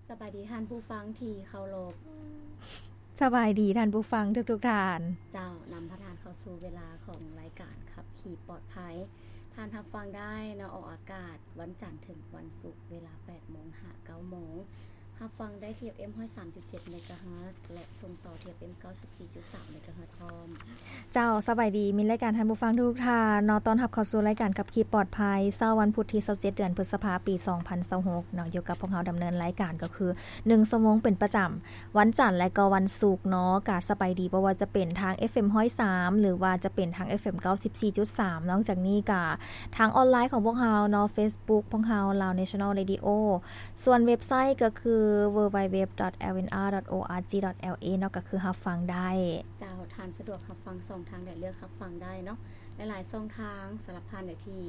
ສະບາຍດີທ່ານຜູ້ຟັງທີ່ເຄົາລົບ. ສະບາຍດີທ່ານຜູ້ຟັງທຸກໆທ່ານ. ເຈົ້າ, ນຳພາທ່ານເຂົ້າສູ່ເວລາຂອງລາຍການຂັບຂີ່ປອດໄພ. ທ່ານຮັບຟັງໄດ້ເນາະ, ອອກອາກາດວັນຈັນເຖິງວັນສຸກ ເວລາແປດໂມງຫາເກົ້າໂມງ. ຮັບຟັງໄດ້ທີ່ ເອັຟເອັມ ຮ້ອຍສາມຈຸດເຈັດ ເມກາເຮີດ ແລະ ສົ່ງຕໍ່ທີ່ ເອັຟເອັມ ເກົ້າສິບສີ່ຈຸດສາມ ເມກາເຮີດ ພ້ອມ. ເຈົ້າ, ສະບາຍດີມິດລາຍການທ່ານຜູ້ຟັງທຸກໆທ່ານເນາະ, ຕ້ອນຮັບເຂົ້າສູ່ລາຍການຂັບຂີ່ປອດໄພ ເຊົ້າວັນພຸດທີຊາວເຈັດ ເດືອນພຶດສະພາ ປີສອງພັນຊາວຫົກເນາະ. ຢູ່ກັບພວກເຮົາດຳເນີນລາຍການກໍຄື ໜຶ່ງຊົ່ວໂມງເປັນປະຈຳ ວັນຈັນ ແລະ ກໍວັນສຸກເນາະ. ກະສະບາຍດີ ບໍ່ວ່າຈະເປັນທາງ ເອັຟເອັມ ຮ້ອຍສາມ ຫຼືວ່າຈະເປັນທາງ ເອັຟເອັມ ເກົ້າສິບສີ່ຈຸດສາມ ນອກຈາກນີ້ກະທາງອອນລາຍຂອງພວກເຮົາເນາະ, ເຟສບຸກຂອງເຮົາ Lao National Radio ສ່ວນເວັບໄຊກໍຄື www.lnr.org.la ເນາະ, ກໍຄືຮັບຟັງໄດ້. ເຈົ້າ, ທ່ານສະດວກຮັບຟັງຊ່ອງທາງໃດ ເລືອກຮັບຟັງໄດ້ເນາະ. ຫຼາຍໆຊ່ອງທາງ ສຳລັບທ່ານໃດທີ່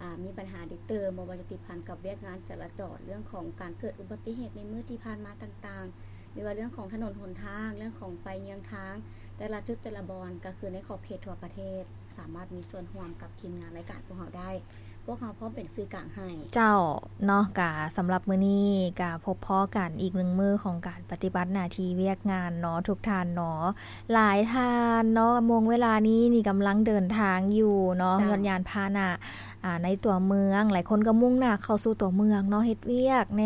ອາ ມີບັນຫາດິດຕື່ມ ບໍ່ວ່າຈະຕິດພັນກັບວຽກງານຈະລາຈອນ, ເລື່ອງຂອງການເກີດອຸບັດຕິເຫດໃນມື້ທີ່ຜ່ານມາຕ່າງໆ ຫຼືວ່າເລື່ອງຂອງຖະໜົນຫົນທາງ, ເລື່ອງຂອງໄຟເຍືອງທາງ ແຕ່ລະຈຸດແຕ່ລະບ່ອນ ກໍຄືໃນຂອບເຂດທົ່ວປະເທດ ສາມາດມີສ່ວນຮ່ວມກັບທີມງານລາຍການພວກເຮົາໄດ້. ພວກເຮົາພ້ອມເປັນສື່ກາງໃຫ້. ເຈົ້າເນາະ, ກະສຳລັບມື້ນີ້ກະພົບພໍ້ກັນອີກໜຶ່ງມື້ຂອງການປະຕິບັດໜ້າທີ່ວຽກງານເນາະ ທຸກທ່ານເນາະ. ຫຼາຍທ່ານເນາະ ໂມງເວລານີ້ນີ້ກຳລັງເດີນທາງຢູ່ເນາະ, ເຈົ້າ, ຍານພາຫະນະ ອາ ໃນຕົວເມືອງ. ຫຼາຍຄົນກໍມຸ່ງໜ້າເຂົ້າສູ່ຕົວເມືອງເນາະ, ເຮັດວຽກແດ່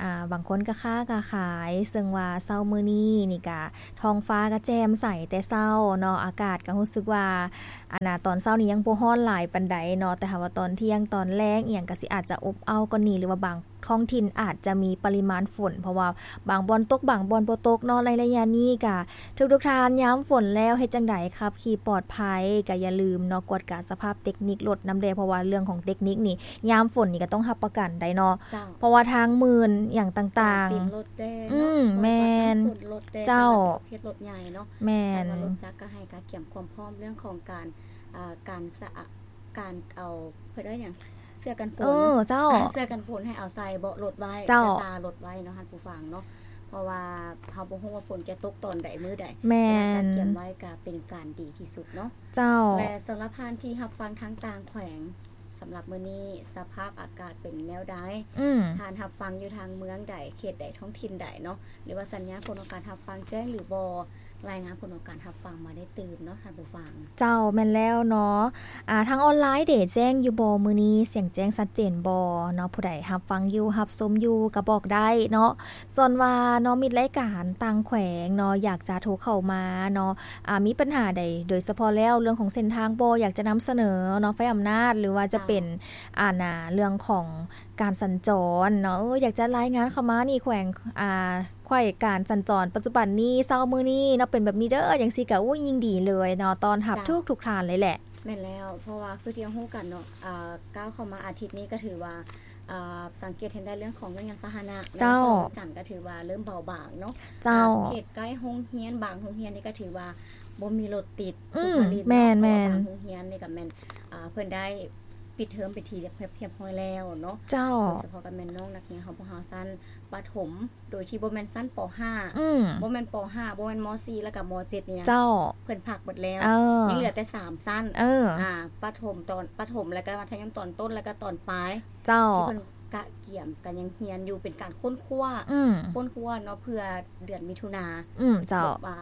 ອາ ບາງຄົນກໍຄ້າກໍຂາຍ, ເຊິ່ງວ່າເຊົ້າມື້ນີ້ນີ້ກະທ້ອງຟ້າກໍແຈ່ມໃສແຕ່ເຊົ້າເນາະ, ອາກາດກໍຮູ້ສຶກວ່າ ອັນນ່າ ຕອນເຊົ້ານີ້ຍັງບໍ່ຮ້ອນຫຼາຍປານໃດເນາະ, ແຕ່ຖ້າວ່າຕອນທ່ຽງຕອນແລງອີ່ຫຍັງກໍຊິອາດຈະອົບເອົ້າກວ່ານີ້ ຫຼືວ່າບາງທ້ອງຖິ່ນອາດຈະມີປະລິມານຝົນ ເພາະວ່າບາງບ່ອນຕົກ ບາງບ່ອນບໍ່ຕົກເນາະ. ໃນໄລຍະນີ້ກະທຸກໆທ່ານ ຍາມຝົນແລ້ວເຮັດຈັ່ງໃດ ຂັບຂີ່ປອດໄພ ກໍຢ່າລືມເນາະ ກວດກາສະພາບເຕັກນິກລົດນຳແດ່, ເພາະວ່າເລື່ອງຂອງເຕັກນິກນີ້ ຍາມຝົນນີ້ກໍຕ້ອງຮັບປະກັນໄດ໋ເນາະ. ເຈົ້າ. ເພາະວ່າທາງມື່ນຫຍັງຕ່າງໆ ການປີນລົດແດ່ເນາະ. ອືມ ແມ່ນ. ເພາະວ່ານ້ຳຝົນລົດແດ່ ເຈົ້າ ເປັນລະດັບເຂດລົດໃຫຍ່ເນາະ. ແມ່ນ. ແລ້ວກໍລົດຈັກກໍໃຫ້ກະກຽມຄວາມພ້ອມເລື່ອງຂອງການ ອາ ການສະອາ ການເອົາ ເພິ່ນເອີ້ນຫຍັງ ເສື້ອກັນຝົນ. ເອີ ເຈົ້າ. ເສື້ອກັນຝົນໃຫ້ເອົາໃສ່ເບາະລົດໄວ້ ເຈົ້າ ໃສ່ຕາລົດໄວ້ເນາະ ທ່ານຜູ້ຟັງເນາະ. ເພາະວ່າເຮົາບໍ່ຮູ້ວ່າຝົນຈະຕົກຕອນໃດມື້ໃດ. ແມ່ນ. ສະນັ້ນການກຽມໄວ້ກະເປັນການດີທີ່ສຸດເນາະ. ເຈົ້າ. ແລະ ສຳລັບທ່ານທີ່ຮັບຟັງທາງຕ່າງແຂວງ ສຳລັບມື້ນີ້ສະພາບອາກາດເປັນແນວໃດ? ອືມ. ທ່ານຮັບຟັງຢູ່ທາງເມືອງໃດ ເຂດໃດ ທ້ອງຖິ່ນໃດເນາະ ຫຼືວ່າສັນຍານຜົນຂອງການຮັບຟັງແຈ້ງຫຼືບໍ່? ລາຍງານຜົນຂອງການຮັບຟັງມາໄດ້ຕື່ມເນາະ ທ່ານຜູ້ຟັງ. ເຈົ້າ, ແມ່ນແລ້ວເນາະ. ອາ ທາງອອນລາຍເດ ແຈ້ງຢູ່ບໍ່ມື້ນີ້? ສຽງແຈ້ງຊັດເຈນບໍ່ເນາະ? ຜູ້ໃດຮັບຟັງຢູ່ ຮັບຊົມຢູ່ກໍບອກໄດ້ເນາະ. ສ່ວນວ່າເນາະ ມິດລາຍການຕ່າງແຂວງເນາະ ຢາກຈະໂທເຂົ້າມາເນາະ ອາ ມີບັນຫາໃດ ໂດຍສະເພາະແລ້ວເລື່ອງຂອງເສັ້ນທາງບໍ່ ຢາກຈະນຳສະເໜີເນາະ ໄຟອຳນາດ ຫຼືວ່າຈະເປັນ ເຈົ້າ ອັນນ່າ ເລື່ອງຂອງການສັນຈອນເນາະ, ເອີ ຢາກຈະລາຍງານເຂົ້າມານີ້ ແຂວງ ອາ ແຂວງການສັນຈອນປັດຈຸບັນນີ້ ເຊົ້າມື້ນີ້ເນາະ ເປັນແບບນີ້ເດີ ຈັ່ງຊີ້ກະ ໂອ້ຍ ຍິ່ງດີເລີຍເນາະ ຕ້ອນຮັບ ເຈົ້າ ທຸກໆທ່ານເລີຍແຫຼະ. ແມ່ນແລ້ວ ເພາະວ່າຄືທີ່ເຮົາຮູ້ກັນເນາະ ອາ ກ້າວເຂົ້າມາອາທິດນີ້ກໍຖືວ່າ ອາ ສັງເກດເຫັນໄດ້ເລື່ອງຂອງເລື່ອງຍານພາຫະນະ ເຈົ້າ ໃນວັນຈັນກໍຖືວ່າເລີ່ມເບົາບາງເນາະ. ເຈົ້າ. ອາ ເຂດໃກ້ໂຮງຮຽນ ບາງໂຮງຮຽນນີ້ກໍຖືວ່າບໍ່ມີລົດຕິດ ອືມ ສຸກມາລິນເນາະ. ແມ່ນໆ ເພາະວ່າບາງໂຮງຮຽນນີ້ກໍແມ່ນ ອາ ເພິ່ນໄດ້ປິດເທີມເປັນທີ່ຮຽບ ຮຽບຮ້ອຍແລ້ວເນາະ. ເຈົ້າ. ໂດຍສະເພາະກໍແມ່ນນ້ອງນັກຮຽນຂອງພວກເຮົາຊັ້ນປະຖົມ ໂດຍທີ່ບໍ່ແມ່ນຊັ້ນ ປໍຫ້າ ອືມ ບໍ່ແມ່ນ ປໍຫ້າ ບໍ່ແມ່ນ ມໍສີ່ ແລ້ວກໍ ມໍເຈັດ ນີ້ນະ ເຈົ້າ ເພິ່ນພັກໝົດແລ້ວ. ເອີ ຍັງເຫຼືອແຕ່ສາມຊັ້ນ. ເອີ ອາ ປະຖົມຕອນ ປະຖົມ ແລ້ວກໍມັດທະຍົມຕອນຕົ້ນ ແລ້ວກໍຕອນປາຍ ເຈົ້າ ທີ່ເພິ່ນກະກຽມກັນຍັງຮຽນຢູ່ ເປັນການຄົ້ນຄວ້າ ອືມ ຄົ້ນຄວ້າເນາະ ເພື່ອເດືອນມິຖຸນາ ອືມ ເຈົ້າ ແບບວ່າ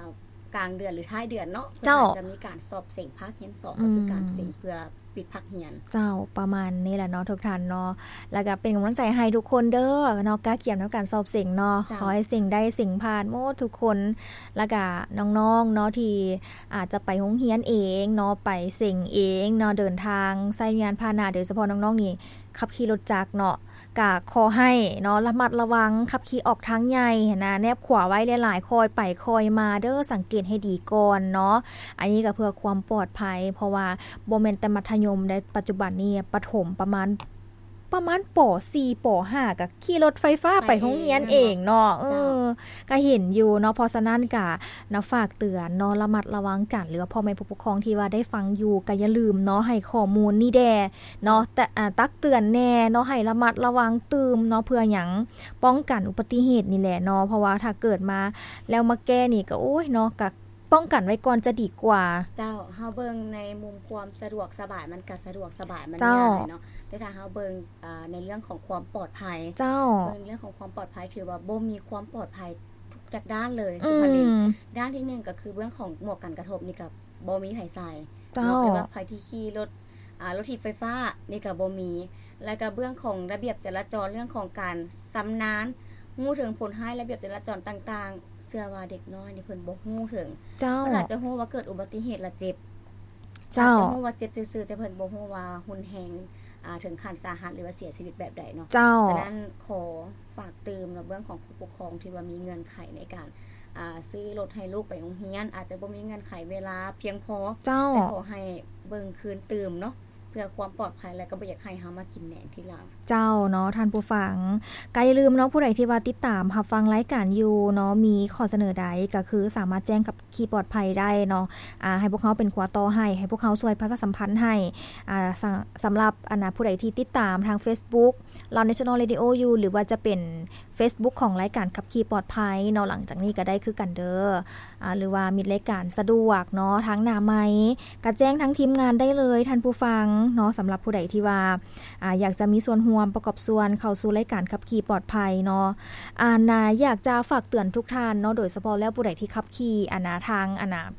ກາງເດືອນ ຫຼື ທ້າຍເດືອນເນາະ ເຈົ້າ ເພິ່ນອາດຈະມີການສອບເສັງພາກຮຽນສອງ ອືມ ກໍຄືການເສັງເພື່ອ ປິດພາກຮຽນ. ເຈົ້າ ປະມານນີ້ແຫຼະເນາະ ທຸກທ່ານເນາະ ແລ້ວກໍເປັນກຳລັງໃຈໃຫ້ທຸກຄົນເດີເນາະ ກະກຽມນຳການສອບເສັງເນາະ. ເຈົ້າ. ຂໍໃຫ້ເສັງໄດ້ເສັງຜ່ານໝົດທຸກຄົນ ແລ້ວກະນ້ອງໆເນາະ ທີ່ອາດຈະໄປໂຮງຮຽນເອງເນາະ ໄປເສັງເອງເນາະ ເດີນທາງໃຊ້ຍານພາຫະນະ ໂດຍສະເພາະນ້ອງໆນີ້ ຂັບຂີ່ລົດຈັກເນາະ ກະຂໍໃຫ້ເນາະ ລະມັດລະວັງ ຂັບຂີ່ອອກທາງໃຫຍ່ຫັ້ນນະ ແນບຂວາໄວ້ຫຼາຍໆ ຄ່ອຍໄປຄ່ອຍມາເດີ ສັງເກດໃຫ້ດີກ່ອນເນາະ. ອັນນີ້ກໍເພື່ອຄວາມປອດໄພ ເພາະວ່າບໍ່ແມ່ນແຕ່ມັດທະຍົມໃດ໋ ປັດຈຸບັນນີ້ປະຖົມປະມານ ປະມານ ປໍສີ່ ປໍຫ້າ ກໍຂີ່ລົດໄຟຟ້າໄປໂຮງຮຽນເອງເນາະ. ເອີ ເຈົ້າ ກໍເຫັນຢູ່ເນາະ ເພາະສະນັ້ນກໍນະ ຝາກເຕືອນເນາະ ລະມັດລະວັງກັນ ຫຼືວ່າພໍ່ແມ່ຜູ້ປົກຄອງທີ່ວ່າໄດ້ຟັງຢູ່ ກໍຢ່າລືມເນາະ ໃຫ້ຂໍ້ມູນນີ້ແດ່ ເນາະ ແຕ່ ອາ ຕັກເຕືອນແດ່ເນາະ ໃຫ້ລະມັດລະວັງຕື່ມເນາະ ເພື່ອຫຍັງ ປ້ອງກັນອຸບັດຕິເຫດນີ້ແຫຼະເນາະ ເພາະວ່າຖ້າເກີດມາແລ້ວມາແກ້ນີ້ກໍ ໂອ້ຍ ເນາະ ກໍປ້ອງກັນໄວ້ກ່ອນຈະດີກວ່າ. ເຈົ້າ ເຮົາເບິ່ງໃນມຸມຄວາມສະດວກສະບາຍ ມັນກໍສະດວກສະບາຍ ມັນ ເຈົ້າ ງ່າຍເນາະ ແ ແຕ່ຖ້າເຮົາເບິ່ງ ອ່າ ໃນເລື່ອງຂອງຄວາມປອດໄພ ເຈົ້າ ເບິ່ງເລື່ອງຂອງຄວາມປອດໄພ ຖືວ່າບໍ່ມີຄວາມປອດໄພທຸກຈັກດ້ານເລີຍ ອືມ ສຸພາລິນ. ດ້ານທີໜຶ່ງກໍຄືເລື່ອງຂອງໝວກກັນກະທົບນີ້ກໍບໍ່ມີໃຜໃສ່ ເຈົ້າ ເນາະ ຫຼືວ່າໃຜທີ່ຂີ່ລົດ ອ່າ ລົດຖີບໄຟຟ້ານີ້ກໍບໍ່ມີ ແລ້ວກໍເລື່ອງຂອງລະບຽບຈະລາຈອນ ເລື່ອງຂອງການຊຳນານ ຮູ້ເຖິງຜົນຮ້າຍລະບຽບຈະລາຈອນຕ່າງໆ ເຊື່ອວ່າເດັກນ້ອຍນີ້ເພິ່ນບໍ່ຮູ້ເຖິງ ເຈົ້າ ເພິ່ນອາດຈະຮູ້ວ່າເກີດອຸບັດຕິເຫດແລ້ວເຈັບ ເຈົ້າ ອາດຈະຮູ້ວ່າເຈັບຊື່ໆ ແຕ່ເພິ່ນບໍ່ຮູ້ວ່າຮຸນແຮງ ອ່າ ເຖິງຂັ້ນສາຫັດ ຫຼືວ່າເສຍຊີວິດແບບໃດເນາະ ເຈົ້າ ສະນັ້ນຂໍຝາກຕື່ມເນາະ ເລື່ອງຂອງຜູ້ປົກຄອງທີ່ວ່າມີເງື່ອນໄຂໃນການ ອ່າ ຊື້ລົດໃຫ້ລູກໄປໂຮງຮຽນ ອາດຈະບໍ່ມີເງື່ອນໄຂເວລາພຽງພໍ ເຈົ້າ ແຕ່ຂໍໃຫ້ເບິ່ງຄືນຕື່ມເນາະ ເພື່ອຄວາມປອດໄພ ແລະກໍບໍ່ຢາກໃຫ້ເຮົາມາກິນແໜງທີຫຼັງ ເຈົ້າເນາະ ທ່ານຜູ້ຟັງ ກໍຢ່າລືມເນາະ ຜູ້ໃດທີ່ວ່າຕິດຕາມຮັບຟັງລາຍການຢູ່ເນາະ ມີຂໍ້ສະເໜີໃດກໍຄືສາມາດແຈ້ງກັບ ຂີ່ປອດໄພໄດ້ເນາະ ອ່າ ໃຫ້ພວກເຮົາເປັນຂົວຕໍ່ໃຫ້ ໃຫ້ພວກເຮົາຊ່ວຍປະຊາສຳພັນໃຫ້ ອ່າ ສະ ສຳລັບ ອັນນະ ຜູ້ໃດທີ່ຕິດຕາມທາງເຟສບຸກ Lao National Radio ຢູ່ ຫຼືວ່າຈະເປັນເຟສບຸກຂອງລາຍການຂັບຂີ່ປອດໄພເນາະ ຫຼັງຈາກນີ້ກໍໄດ້ຄືກັນເດີ ອ່າ ຫຼືວ່າມິດລາຍການສະດວກເນາະ ທາງໜ້າໄມ ກໍແຈ້ງທາງທີມງານໄດ້ເລີຍ ທ່ານຜູ້ຟັງເນາະ ສຳລັບຜູ້ໃດທີ່ວ່າ ອ່າ ຢາກຈະມີສ່ວນຮ່ວມປະກອບສ່ວນເຂົ້າສູ່ລາຍການຂັບຂີ່ປອດໄພເນາະ ອັນນະ ຢາກຈະຝາກເຕືອນທຸກທ່ານເນາະ ໂດຍສະເພາະແລ້ວຜູ້ໃດທີ່ຂັບຂີ່ ອັນນະ ທາງ ອັນນະ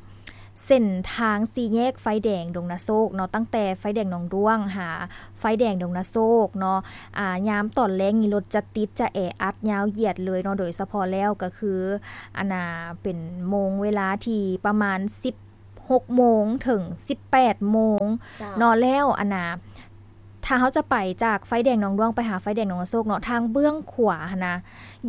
ເສັ້ນທາງສີ່ແຍກໄຟແດງດົງນາໂຊກເນາະ ຕັ້ງແຕ່ໄຟແດງໜອງດ້ວງຫາໄຟແດງດົງນາໂຊກເນາະ ອ່າ ຍາມຕອນແລງນີ້ລົດຈະຕິດ ຈະແອອັດຍາວຢຽດເລີຍເນາະ ໂດຍສະເພາະແລ້ວກໍຄື ອັນນະ ເປັນໂມງເວລາທີ່ປະມານສິບ ຫົກໂມງເຖິງສິບແປດໂມງ ເຈົ້າ ເນາະ ແລ້ວ ອັນນະ ຖ້າເຮົາຈະໄປຈາກໄຟແດງໜອງດ້ວງໄປຫາໄຟແດງໜອງນາໂຊກເນາະ ທາງເບື້ອງຂວາຫັ້ນນະ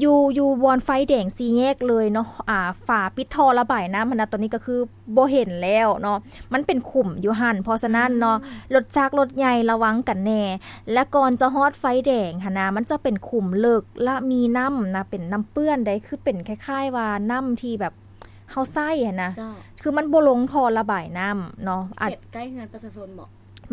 ຢູ່ ຢູ່ບ່ອນໄຟແດງສີ່ແຍກເລີຍເນາະ ອ່າ ຝາປິດທໍ່ລະບາຍນ້ຳຫັ້ນນະ ຕອນນີ້ກໍຄືບໍ່ເຫັນແລ້ວເນາະ ມັນເປັນຂຸມຢູ່ຫັ້ນ ເພາະສະນັ້ນເນາະ ອືມ ລົດຈັກລົດໃຫຍ່ລະວັງກັນແດ່ ແລະ ກ່ອນຈະຮອດໄຟແດງຫັ້ນນະ ມັນຈະເປັນຂຸມເລິກ ແລະ ມີນ້ຳນະ ເປັນນ້ຳເປື້ອນໃດ ຄືເປັນຄ້າຍໆວ່ານ້ຳທີ່ແບບ ເຮົາໃຊ້ຫັ້ນນະ ເຈົ້າ ຄືມັນບໍ່ລົງທໍ່ລະບາຍນ້ຳເນາະ ເຂດໃກ້ເຮືອນປະຊາຊົນບໍ?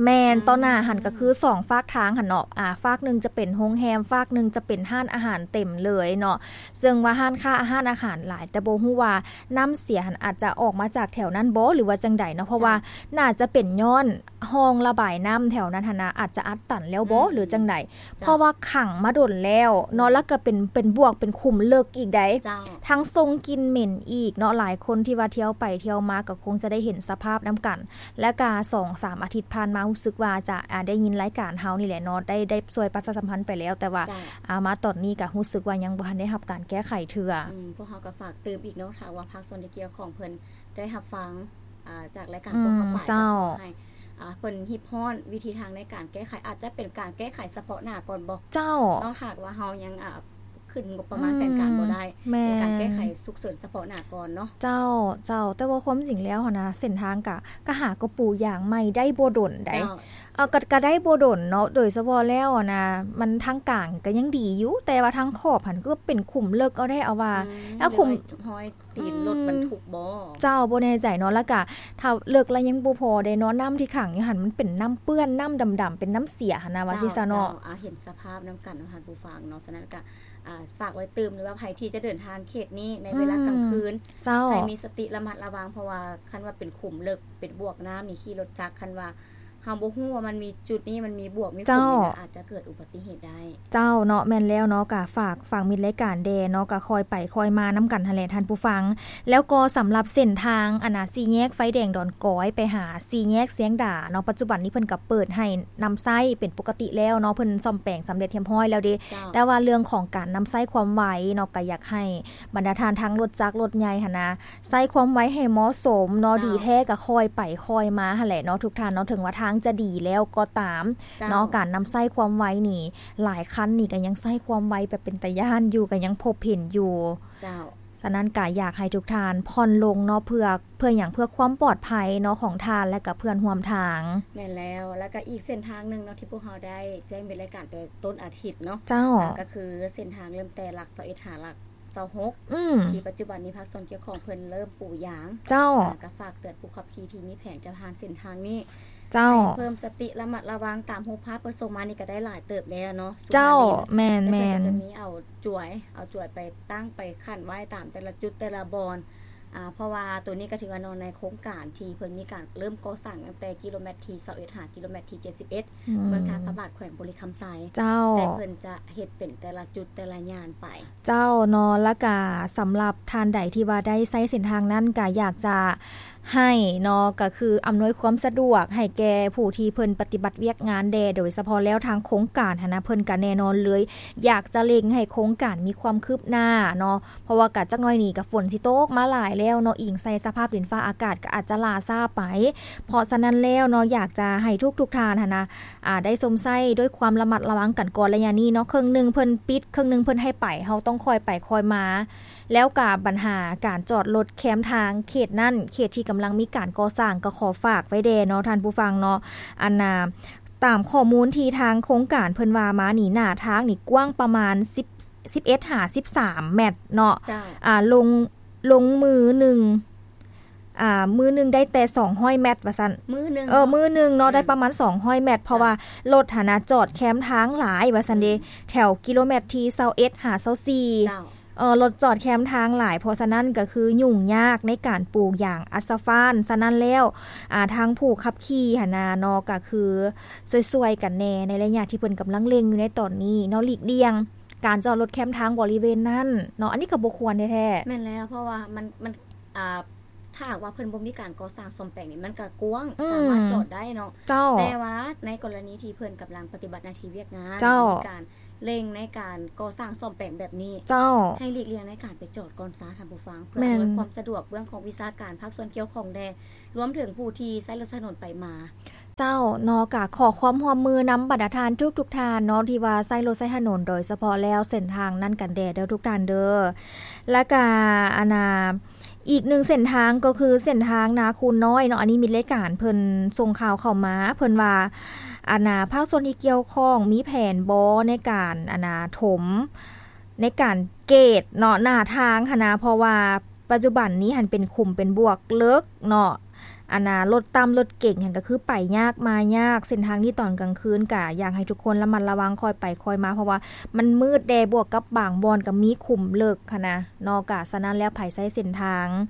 ແມ່ນ ອືມ ຕໍ່ໜ້າຫັ້ນກໍຄືສອງຟາກທາງຫັ້ນເນາະ ອ່າ ຟາກໜຶ່ງຈະເປັນໂຮງແຮມ ຟາກໜຶ່ງຈະເປັນຮ້ານອາຫານເຕັມເລີຍເນາະ ເຊິ່ງວ່າຮ້ານຄ້າ ຮ້ານອາຫານຫຼາຍ ແຕ່ບໍ່ຮູ້ວ່ານ້ຳເສຍຫັ້ນອາດຈະອອກມາຈາກແຖວນັ້ນບໍ ຫຼືວ່າຈັ່ງໃດເນາະ ເພາະວ່າ ເຈົ້າ ໜ້າຈະເປັນຍ້ອນຮ່ອງລະບາຍນ້ຳແຖວນັ້ນຫັ້ນນະ ອາດຈະອັດຕັນແລ້ວບໍ ອືມ ຫຼືຈັ່ງໃດ ເຈົ້າ ເພາະວ່າຂັງມາດົນແລ້ວເນາະ ອືມ ແລ້ວກໍເປັນ ເປັນບວກ ເປັນຂຸມເລິກອີກໃດ໋ ເຈົ້າ ທັງສົ່ງກິ່ນເໝັນອີກເນາະ ຫຼາຍຄົນທີ່ວ່າທ່ຽວໄປທ່ຽວມາກໍຄົງຈະໄດ້ເຫັນສະພາບນຳກັນ ແລ້ວກະສອງສາມອາທິດຜ່ານມາຮູ້ສຶກວ່າຈະ ອ່າ ໄດ້ຍິນລາຍການເຮົານີ້ແຫຼະເນາະ ໄດ້ ໄດ້ຊ່ວຍປະຊາສຳພັນໄປແລ້ວ ແຕ່ວ່າ ເຈົ້າ ອ່າ ມາຕອນນີ້ກະຮູ້ສຶກວ່າຍັງບໍ່ທັນໄດ້ຮັບການແກ້ໄຂເທື່ອ ອືມ ພວກເຮົາກໍຝາກຕື່ມອີກເນາະ ຖ້າວ່າພາກສ່ວນທີ່ກ່ຽວຂ້ອງເພິ່ນໄດ້ຮັບຟັງ ອ່າ ຈາກລາຍການ ອືມ ພວກເຮົາໄປ ເຈົ້າ ກໍຂໍໃຫ້ ອ່າ ເພິ່ນຮິບຮ້ອນວິທີທາງໃນການແກ້ໄຂ ອາດຈະເປັນການແກ້ໄຂສະເພາະໜ້າກ່ອນບໍ ເຈົ້າ ເນາະ ຖ້າຫາກວ່າເຮົາຍັງ ອ່າ ຂຶ້ນງົບປະມານ ອືມ ແຜນການບໍ່ໄດ້ ແມ່ນ ເປັນການແກ້ໄຂສຸກເສີນສະເພາະໜ້າກ່ອນເນາະ ເຈົ້າ ເຈົ້າ ແຕ່ວ່າຄວາມຈິງແລ້ວຫັ້ນນະ ເສັ້ນທາງກະ ກະຫາກໍປູຢາງໃໝ່ໄດ້ບໍ່ດົນໃດ ເຈົ້າ ເອີ ກະ ກະໄດ້ບໍ່ດົນເນາະ ໂດຍສະເພາະແລ້ວຫັ້ນນະ ມັນທາງກາງກະຍັງດີຢູ່ ແຕ່ວ່າທາງຂອບຫັ້ນຄືເປັນຂຸມເລິກເອົາແທ້ເອົາວ່າ ອືມ ແລ້ວຂຸມ ມີຮອຍ ຕີນລົດບັນທຸກບໍ ອືມ ເຈົ້າ ບໍ່ແນ່ໃຈເນາະ ແລ້ວກະຖ້າເລິກແລ້ວຍັງບໍ່ພໍເດ້ເນາະ ນ້ຳທີ່ຂັງຢູ່ຫັ້ນມັນເປັນນ້ຳເປື້ອນ ນ້ຳດຳໆ ເປັນນ້ຳເສຍຫັ້ນນະ ວ່າຊິຊະເນາະ ເຈົ້າ ເຈົ້າ ອ່າ ເຫັນສະພາບນຳກັນເນາະ ທ່ານຜູ້ຟັງເນາະ ສະນັ້ນກະ ອ່າ ຝາກໄວ້ຕື່ມ ຫຼືວ່າໃຜທີ່ຈະເດີນທາງເຂດນີ້ໃນເວລາກາງຄືນ ອືມ ເຈົ້າ ໃຫ້ມີສະຕິລະມັດລະວັງ ເພາະວ່າຄັນວ່າເປັນຂຸມເລິກ ເປັນບວກນ້ຳນີ້ ຂີ່ລົດຈັກ ຄັນວ່າ ເຮົາບໍ່ຮູ້ວ່າມັນມີຈຸດນີ້ ມັນມີບວກມີຂຸມນີ້ນະ ເຈົ້າ ອາດຈະເກີດອຸບັດຕິເຫດໄດ້ ເຈົ້າເນາະ ແມ່ນແລ້ວເນາະ ກະຝາກ ຝາກມິດລາຍການແດ່ເນາະ ກະຄ່ອຍໄປຄ່ອຍມານຳກັນຫັ້ນແຫຼະທ່ານຜູ້ຟັງ ແລ້ວກໍສຳລັບເສັ້ນທາງ ອັນນະ ສີ່ແຍກໄຟແດງດອນກອຍ ໄປຫາສີ່ແຍກຊຽງດາເນາະ ປັດຈຸບັນນີ້ເພິ່ນກະເປີດໃຫ້ນຳໃຊ້ເປັນປົກກະຕິແລ້ວເນາະ ເພິ່ນສ້ອມແປງສຳເລັດຮຽບຮ້ອຍແລ້ວເດ້ ເຈົ້າ ແຕ່ວ່າເລື່ອງຂອງການນຳໃຊ້ຄວາມໄວເນາະ ກະຢາກໃຫ້ບັນດາທ່ານທາງລົດຈັກລົດໃຫຍ່ຫັ້ນນະ ໃຊ້ຄວາມໄວໃຫ້ເໝາະສົມເນາະ ເຈົ້າ ດີແທ້ກະຄ່ອຍໄປຄ່ອຍມາຫັ້ນແຫຼະເນາະ ທຸກທ່ານເນາະ ເຖິງວ່າທາງຈະດີແລ້ວກໍຕາມ ເຈົ້າ ເນາະ ການນຳໃຊ້ຄວາມໄວນີ້ ຫຼາຍຄັນນີ້ກະຍັງໃຊ້ຄວາມໄວແບບເປັນຕາຢ້ານຢູ່ ກະຍັງພົບເຫັນຢູ່ ເຈົ້າ ສະນັ້ນກະຢາກໃຫ້ທຸກທ່ານຜ່ອນລົງເນາະ ເພື່ອ ເພື່ອຫຍັງ ເພື່ອຄວາມປອດໄພເນາະ ຂອງທ່ານ ແລະກະເພື່ອນຮ່ວມທາງ ແມ່ນແລ້ວ ແລ້ວກະອີກເສັ້ນທາງໜຶ່ງເນາະ ທີ່ພວກເຮົາໄດ້ແຈ້ງເປັນລາຍການແຕ່ຕົ້ນອາທິດເນາະ ເຈົ້າ ອ່າ ກະຄືເສັ້ນທາງເລີ່ມແຕ່ຫຼັກຊາວເອັດ ຫາຫຼັກ ຊາວຫົກ ອືມ ທີ່ປັດຈຸບັນນີ້ພາກສ່ວນກ່ຽວຂ້ອງເພິ່ນເລີ່ມປູຢາງ ເຈົ້າ ອ່າ ກະຝາກເຕືອນຜູ້ຂັບຂີ່ທີ່ມີແຜນຈະຜ່ານເສັ້ນທາງນີ້ ເຈົ້າ ໃຫ້ເພີ່ມສະຕິລະມັດລະວັງ ຕາມຮູບພາບເພິ່ນສົ່ງມານີ້ກະໄດ້ຫຼາຍເຕີບແລ້ວເນາະ ເຈົ້າ ສຸພາລິນ ແມ່ນໆ ແຕ່ເພິ່ນກະຈະມີເອົາຈວຍ ເອົາຈວຍໄປຕັ້ງໄປຂັ້ນໄວ້ຕາມແຕ່ລະຈຸດແຕ່ລະບ່ອນ ອ່າ ເພາະວ່າໂຕນີ້ກໍຖືວ່າເນາະ ໃນໂຄງການທີ່ເພິ່ນມີການເລີ່ມກໍ່ສ້າງຕັ້ງແຕ່ກິໂລແມັດທີຊາວເອັດ ຫາກິໂລແມັດທີເຈັດສິບເອັດ ເມືອງທ່າພະບາດ ແຂວງບໍລິຄຳໄຊ ເຈົ້າ ແຕ່ເພິ່ນຈະເຮັດເປັນແຕ່ລະຈຸດແຕ່ລະຍ່ານໄປ. ເຈົ້າເນາະ ແລ້ວກະສຳລັບທ່ານໃດທີ່ວ່າໄດ້ໃຊ້ເສັ້ນທາງນັ້ນ ກະຢາກຈະໃຫ້ເນາະ ກະຄືອຳນວຍຄວາມສະດວກໃຫ້ແກ່ຜູ້ທີ່ເພິ່ນປະຕິບັດວຽກງານແດ່ ໂດຍສະເພາະແລ້ວທາງໂຄງການຫັ້ນນະ ເພິ່ນກະແນ່ນອນເລີຍ ຢາກຈະເລັ່ງໃຫ້ໂຄງການມີຄວາມຄືບໜ້າເນາະ ເພາະວ່າກະຈັກໜ້ອຍນີ້ກະຝົນຊິຕົກມາຫຼາຍແລ້ວເນາະ ອີງໃສ່ສະພາບດິນຟ້າອາກາດກະອາດຈະຫຼ້າຊ້າໄປ. ເພາະສະນັ້ນແລ້ວເນາະ ຢາກຈະໃຫ້ທຸກໆທ່ານຫັ້ນນະ ອ່າ ໄດ້ຊົມໃຊ້ດ້ວຍຄວາມລະມັດລະວັງກັນກ່ອນໄລຍະນີ້ເນາະ ເຄິ່ງໜຶ່ງເພິ່ນປິດ ເຄິ່ງໜຶ່ງເພິ່ນໃຫ້ໄປ ເຮົາຕ້ອງຄ່ອຍໄປຄ່ອຍມາ ແລ້ວກະບັນຫາການຈອດລົດແຄມທາງເຂດນັ້ນ ເຂດທີ່ກຳລັງມີການກໍ່ສ້າງ ກໍຂໍຝາກໄວ້ແດ່ເນາະທ່ານຜູ້ຟັງເນາະ ອັນນ່າ ຕາມຂໍ້ມູນທີ່ທາງໂຄງການເພິ່ນວ່າມານີ້ ໜ້າທາງນີ້ກວ້າງປະມານສິບ ສິບເອັດຫາສິບສາມແມັດເນາະ ເຈົ້າ ອ່າ ລົງ ລົງມື້ໜຶ່ງ ອ່າ ມື້ໜຶ່ງໄດ້ແຕ່ສອງຮ້ອຍແມັດວ່າຊັ້ນ ມື້ໜຶ່ງ ເອີ ເນາະ ມື້ໜຶ່ງເນາະ ອືມ ໄດ້ປະມານສອງຮ້ອຍແມັດ ເພາະວ່າ ເຈົ້າ ລົດຫັ້ນນະຈອດແຄມທາງຫຼາຍວ່າຊັ້ນເດ ອືມ ແຖວກິໂລແມັດທີຊາວເອັດຫາຊາວສີ່ ເຈົ້າ ເອີ ລົດຈອດແຄມທາງຫຼາຍ ເພາະສະນັ້ນກໍຄືຫຍຸ້ງຍາກໃນການປູຢາງອາສະຟານ. ສະນັ້ນແລ້ວ ອ່າ ທາງຜູ້ຂັບຂີ່ຫັ້ນນະເນາະ ກໍຄືຊ່ວຍໆກັນແດ່ໃນໄລຍະທີ່ເພິ່ນກຳລັງເລັ່ງຢູ່ໃນຕອນນີ້ເນາະ ຫຼີກລ່ຽງການຈອດລົດແຄມທາງບໍລິເວນນັ້ນເນາະ ອັນນີ້ກໍບໍ່ຄວນແທ້ໆ. ແມ່ນແລ້ວ ເພາະວ່າມັນ ມັນ ອ່າ ຖ້າຫາກວ່າເພິ່ນບໍ່ມີການກໍ່ສ້າງສ້ອມແປງນີ້ ມັນກໍກວ້າງ ອືມ ສາມາດຈອດໄດ້ເນາະ ເຈົ້າ ແຕ່ວ່າໃນກໍລະນີທີ່ເພິ່ນກຳລັງປະຕິບັດໜ້າທີ່ວຽກງານ ເຈົ້າ ມີການ ເລັ່ງໃນການກໍ່ສ້າງສ້ອມແປງແບບນີ້ ເຈົ້າ ໃຫ້ຫຼີກລ່ຽງໃນການໄປຈອດກ່ອນຊາທ່ານຜູ້ຟັງ ເພື່ອ ແມ່ນ ອຳນວຍຄວາມສະດວກເບື້ອງຂອງວິຊາການພາກສ່ວນກ່ຽວຂ້ອງແດ່ ລວມເຖິງຜູ້ທີ່ໃຊ້ລົດໃຊ້ຖະໜົນໄປມາ. ເຈົ້າເນາະ ກະຂໍຄວາມຮ່ວມມືນຳບັນດາທ່ານທຸກໆທ່ານເນາະ ທີ່ວ່າໃຊ້ລົດໃຊ້ຖະໜົນ ໂດຍສະເພາະແລ້ວເສັ້ນທາງນັ້ນກັນແດ່ເດີທຸກທ່ານເດີ. ແລ້ວກະ ອັນນ່າ ອີກໜຶ່ງເສັ້ນທາງກໍຄືເສັ້ນທາງນາຄູນນ້ອຍເນາະ ອັນນີ້ມີລາຍການເພິ່ນສົ່ງຂ່າວເຂົ້າມາ ເພິ່ນວ່າ ອັນນ່າ ພາກສ່ວນທີ່ກ່ຽວຂ້ອງມີແຜນບໍ່ໃນການ ອັນນ່າ ຖົມ ໃນການເກດເນາະ ໜ້າທາງຫັ້ນນະ ເພາະວ່າປັດຈຸບັນນີ້ຫັ້ນເປັນຂຸມເປັນບວກເລິກເນາະ ອັນນ່າ ລົດຕ່ຳລົດເກັງຫັ້ນກໍຄືໄປຍາກມາຍາກ ເສັ້ນທາງນີ້ຕອນກາງຄືນກະຢາກໃຫ້ທຸກຄົນລະມັດລະວັງ ຄ່ອຍໄປຄ່ອຍມາ ເພາະວ່າມັນມືດແດ່ ບວກກັບບາງບ່ອນກໍມີຂຸມເລິກຫັ້ນນະເນາະ ກະສະນັ້ນແລ້ວໃຜໃຊ້ເສັ້ນທາງ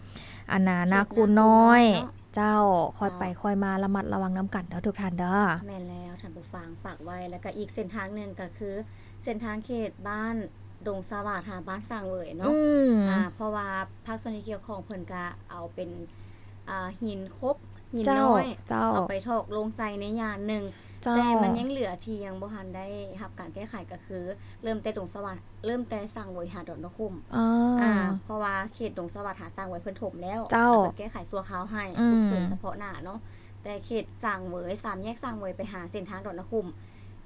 ອັນນ່າ ເຂດ ນາຄູນນ້ອຍ ນາຄູນນ້ອຍເນາະ ເຈົ້າ ຄ່ອຍໄປ ເຈົ້າ ຄ່ອຍມາ ລະມັດລະວັງນຳກັນເດີທຸກທ່ານເດີ. ແມ່ນແລ້ວທ່ານຜູ້ຟັງ ຝາກໄວ້ ແລ້ວກໍອີກເສັ້ນທາງໜຶ່ງກໍຄືເສັ້ນທາງເຂດບ້ານດົງສະຫວາດ ຫາບ້ານສ້າງເຫວີຍເນາະ ອືມ ອ່າ ເພາະວ່າພາກສ່ວນທີ່ກ່ຽວຂ້ອງເພິ່ນກະເອົາເປັນ ອ່າ ຫີນຄົບ ຫີນນ້ອຍ ເຈົ້າ ເອົາໄປຖອກລົງໃສ່ໃນຍານໜຶ່ງ ເຈົ້າ ແຕ່ມັນຍັງເຫຼືອທີ່ຍັງບໍ່ທັນໄດ້ຮັບການແກ້ໄຂ ກໍຄືເລີ່ມແຕ່ດົງສະຫວາດ ເລີ່ມແຕ່ສ້າງເຫວີຍຫາດອນນະຂຸມ ອາ ເພາະວ່າເຂດດົງສະຫວາດຫາສ້າງເຫວີຍເພິ່ນຖົມແລ້ວ ເຈົ້າ ເພິ່ນແກ້ໄຂຊົ່ວຄາວໃຫ້ ອືມ ສຸກເສີນສະເພາະໜ້າເນາະ ແຕ່ເຂດສ້າງເຫວີຍ ສາມແຍກສ້າງເຫວີຍໄປຫາເສັ້ນທາງດອນນະຂຸມ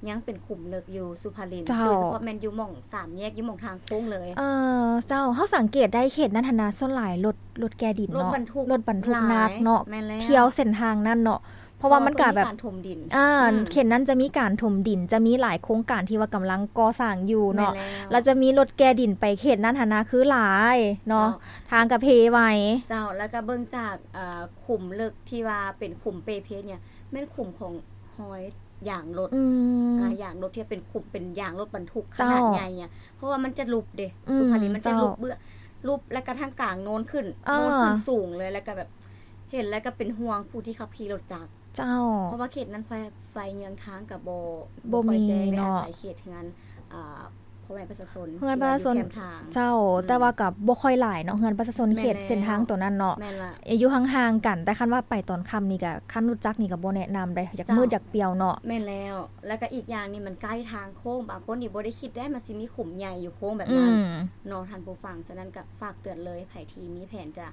ຍັງເປັນຂຸມເລິກຢູ່ສຸພາລິນ ເຈົ້າ ໂດຍສະເພາະແມ່ນຢູ່ໝ່ອງສາມແຍກ ຢູ່ໝ່ອງທາງໂຄ້ງເລີຍ. ເອີ ເຈົ້າ ເຮົາສັງເກດໄດ້ເຂດນັ້ນຫັ້ນນະ ສ່ວນຫຼາຍລົດ ລົດແກ່ດິນເນາະ ລົດບັນທຸກ ລົດບັນທຸກໜັກເນາະ ແມ່ນແລ້ວ ທ່ຽວເສັ້ນທາງນັ້ນເນາະ ເພາະວ່າມັນກະແບບ ເພາະວ່າເພິ່ນມີການຖົມດິນ ອ່າ ອືມ ເຂດນັ້ນຈະມີການຖົມດິນ ຈະມີຫຼາຍໂຄງການທີ່ວ່າກຳລັງກໍ່ສ້າງຢູ່ເນາະ ແມ່ນແລ້ວ ແລ້ວຈະມີລົດແກ່ດິນໄປເຂດນັ້ນຫັ້ນນະ ຄືຫຼາຍເນາະ ເຈົ້າ ທາງກະເພໄວ ເຈົ້າ ແລ້ວກະເບິ່ງຈາກ ເອີ ຂຸມເລິກທີ່ວ່າເປັນຂຸມເປເພດນີ້ ແມ່ນຂຸມຂອງຮອຍ ຢາງລົດ ອືມ ອ່າ ຢາງລົດທີ່ເປັນຂຸມ ເປັນຢາງລົດບັນທຸກຂະໜາດໃຫຍ່ ເຈົ້າ ອະ ເພາະວ່າມັນຈະຫຼຸບເດ້ ອືມ ສຸພາລິນ ມັນຈະຫຼຸບ ເຈົ້າ ເບື້ອງ ຫຼຸບ ແລ້ວກະທາງກາງໂນ້ນຂຶ້ນ ເຈົ້າ ໂນ້ນຂຶ້ນສູງເລີຍ ແລ້ວກະແບບ ເຫັນແລ້ວກະເປັນຫ່ວງຜູ້ທີ່ຂັບຂີ່ລົດຈັກ ເຈົ້າ ເພາະວ່າເຂດນັ້ນໄຟ ໄຟເຍືອງທາງກະບໍ່ ບໍ່ ບໍ່ຄ່ອຍແຈ້ງ ມີເນາະ ໄດ້ອາໄສເຂດເຮືອນ ອ່າ ພໍ່ແມ່ປະຊາຊົນ ເຮືອນປະຊາຊົນ ທີ່ວ່າຢູ່ແຄມທາງ ເຈົ້າ ອືມ ແຕ່ວ່າກໍບໍ່ຄ່ອຍຫຼາຍເນາະ ເຮືອນປະຊາຊົນເຂດ ແມ່ນແລ້ວ ເສັ້ນທາງໂຕນັ້ນເນາະ ແມ່ນລະ ຢູ່ຫ່າງໆກັນ ແຕ່ຄັນວ່າໄປຕອນຄ່ຳນີ້ກໍ ຄັນລົດຈັກນີ້ກໍບໍ່ແນະນຳເດ້ ຢາກ ເຈົ້າ ມືດຢາກປ່ຽວເນາະ ແມ່ນແລ້ວ ແລ້ວກໍອີກຢ່າງນີ້ມັນໃກ້ທາງໂຄ້ງ ບາງຄົນນີ້ບໍ່ໄດ້ຄິດໄດ້ ມັນຊິມີຂຸມໃຫຍ່ຢູ່ໂຄ້ງແບບນັ້ນ ອືມ ເນາະ ທ່ານຜູ້ຟັງ ສະນັ້ນກໍຝາກເຕືອນເລີຍ ໃຜທີ່ມີແຜນຈະ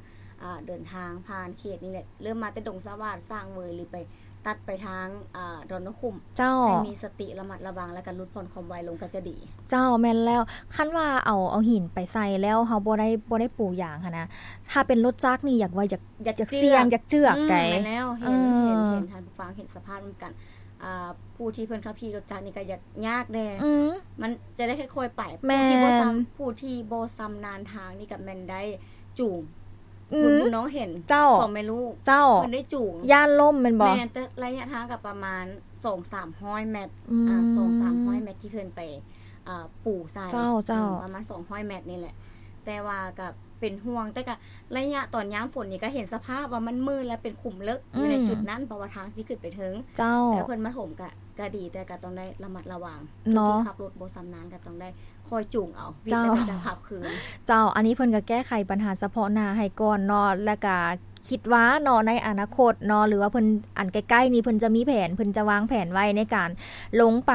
ອ່າ ເດີນທາງຜ່ານເຂດນີ້ແຫຼະ ເລີ່ມມາແຕ່ດົງສະຫວາດ ສ້າງເຫວີຍ ຫຼືໄປ ຕັດໄປທາງ ອ່າ ດອນນະຂຸມ ເຈົ້າ ໃຫ້ມີສະຕິລະມັດລະວັງ ແລ້ວກໍຫຼຸດຜ່ອນຄວາມໄວລົງກໍຈະດີ ເຈົ້າ ແມ່ນແລ້ວ ຄັນວ່າເອົາ ເອົາຫີນໄປໃສ່ແລ້ວ ເຮົາບໍ່ໄດ້ ບໍ່ໄດ້ປູຢາງຫັ້ນນະ ຖ້າເປັນລົດຈັກນີ້ ຢາກວ່າ ຢາກ ຢາກ ຢາກສ່ຽງ ຢາກເຈື່ອກ ອືມ ໃດ ແມ່ນແລ້ວ ເຫັນ ເອີ ເຫັນ ເຫັນ ເຫັນ ທ່ານຜູ້ຟັງເຫັນສະພາບນຳກັນ ອ່າ ຜູ້ທີ່ເພິ່ນຂັບຂີ່ລົດຈັກນີ້ກໍຢາກຍາກແດ່ ອືມ ມັນຈະໄດ້ຄ່ອຍໆໄປ ແມ່ນ ຜູ້ທີ່ບໍ່ຊຳ ຜູ້ທີ່ບໍ່ຊຳນານທາງນີ້ກໍແມ່ນໄດ້ຈູງ ອືມ ບຸນບຸນນ້ອງເຫັນ ເຈົ້າ ສອງແມ່ລູກ ເຈົ້າ ເພິ່ນໄດ້ຈູງ ຢ້ານລົ້ມແມ່ນບໍ່? ແມ່ນ ແຕ່ໄລຍະທາງກໍປະມານສອງສາມຮ້ອຍແມັດ ອືມ ອ່າ ສອງສາມຮ້ອຍແມັດທີ່ເພິ່ນໄປ ອ່າ ປູໃສ່ ເຈົ້າ ເຈົ້າ ອືມ ປະມານສອງຮ້ອຍແມັດນີ້ແຫຼະ ແຕ່ວ່າກໍເປັນຫ່ວງ ແຕ່ກໍໄລຍະຕອນຍາມຝົນນີ້ກໍເຫັນສະພາບວ່າມັນມືດ ແລະ ເປັນຂຸມເລິກຢູ່ໃນ ອືມ ຈຸດນັ້ນ ເພາະວ່າທາງຊິຂຶ້ນໄປເທິງ. ເຈົ້າ. ແຕ່ເພິ່ນມາຖົມກໍ ກໍດີ ແຕ່ກໍຕ້ອງໄດ້ລະມັດລະວັງ. ເນາະ. ຜູ້ທີ່ຂັບລົດບໍ່ຊຳນານກໍຕ້ອງໄດ້ຄອຍຈູງເອົາ ວິດແລ້ວກໍຈະຂັບຄືນ. ເຈົ້າ. ເຈົ້າ. ອັນນີ້ເພິ່ນກໍແກ້ໄຂບັນຫາສະເພາະໜ້າໃຫ້ກ່ອນເນາະ ແລ້ວກໍ ຄິດວ່າເນາະ ໃນອະນາຄົດເນາະ ຫຼືວ່າເພິ່ນ ອັນໃກ້ໆນີ້ ເພິ່ນຈະມີແຜນ ເພິ່ນຈະວາງແຜນໄວ້ໃນການລົງໄປ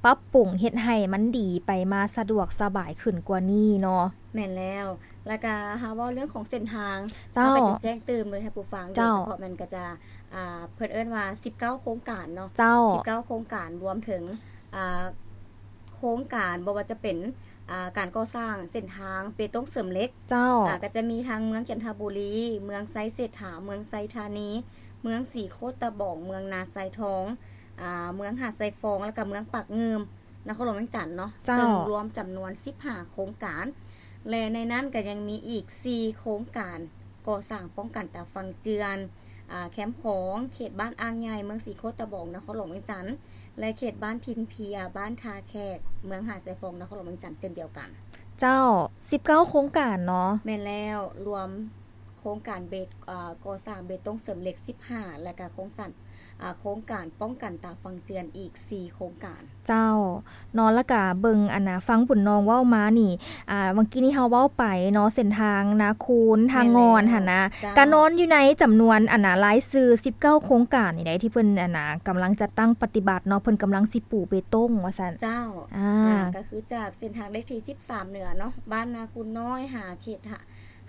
ປັບປຸງເຮັດໃຫ້ມັນດີ ໄປມາສະດວກສະບາຍຂຶ້ນກວ່ານີ້ເນາະ. ແມ່ນແລ້ວ. ແລ້ວກະຫາເວົ້າເລື່ອງຂອງເສັ້ນທາງ ເຈົ້າ ເຮົາກໍຈະແຈ້ງຕື່ມເລີຍໃຫ້ຜູ້ຟັງ. ເຈົ້າ. ໂດຍສະເພາະແມ່ນກໍຈະ ອ່າ ເພິ່ນເອີ້ນວ່າສິບເກົ້າໂຄງການເນາະ. ເຈົ້າ. ສິບເກົ້າໂຄງການ ລວມເຖິງ ອ່າ ໂຄງການ ບໍ່ວ່າຈະເປັນ ອ່າ ການກໍ່ສ້າງເສັ້ນທາງເບຕົງເສີມເຫຼັກ. ເຈົ້າ. ອ່າ ກໍຈະມີທັງເມືອງຈັນທະບູລີ, ເມືອງໄຊເສດຖາ, ເມືອງໄຊທານີ, ເມືອງສີໂຄດຕະບອງ, ເມືອງນາຊາຍທອງ, ອ່າ ເມືອງຫາດຊາຍຟອງ ແລ້ວກໍເມືອງປາກງື່ມ ນະຄອນຫຼວງວຽງຈັນເນາະ. ເຈົ້າ. ເຊິ່ງລວມຈຳນວນສິບຫ້າໂຄງການ ແລະ ໃນນັ້ນກໍຍັງມີອີກສີ່ໂຄງການ ກໍ່ສ້າງປ້ອງກັນຕາຝັ່ງເຈື່ອນ ອ່າ ແຄມຂອງ ເຂດບ້ານອ່າງໃຫຍ່ ເມືອງສີໂຄດຕະບອງ ນະຄອນຫຼວງວຽງຈັນ ແລະ ເຂດບ້ານຖິ່ນເພຍ ບ້ານທ່າແຂກ ເມືອງຫາດຊາຍຟອງ ນະຄອນຫຼວງວຽງຈັນ ເຊັ່ນດຽວກັນ. ເຈົ້າ. ສິບເກົ້າໂຄງການເນາະ. ແມ່ນແລ້ວ. ລວມໂຄງການເບ ເອີ ກໍ່ສ້າງເບຕົງເສີມເຫຼັກສິບຫ້າ ແລະ ກະໂຄງສ້າງ ອ່າ ໂຄງການປ້ອງກັນຕາຝັ່ງເຈື່ອນອີກສີ່ໂຄງການ. ເຈົ້າ ເນາະ. ແລ້ວກະເບິ່ງ ອັນນ່າ ຟັງບຸນນອງເວົ້າມານີ້ ອ່າ ເມື່ອກີ້ນີ້ເຮົາເວົ້າໄປເນາະ ເສັ້ນທາງນາຄູນ ທາງງອນຫັ້ນນະ. ແມ່ນແລ້ວ. ເຈົ້າ. ກະນອນຢູ່ໃນຈຳນວນ ອັນນ່າ ລາຍຊື່ສິບເກົ້າໂຄງການນີ້ໃດ ທີ່ເພິ່ນ ອັນນ່າ ກຳລັງຈັດຕັ້ງປະຕິບັດເນາະ ເພິ່ນກຳລັງຊິປູເບຕົງວ່າຊັ້ນ. ເຈົ້າ. ອ່າ ອ່າ ກໍຄືຈາກເສັ້ນທາງເລກທີສິບສາມເໜືອເນາະ ບ້ານນາຄູນນ້ອຍ ຫາເຂດ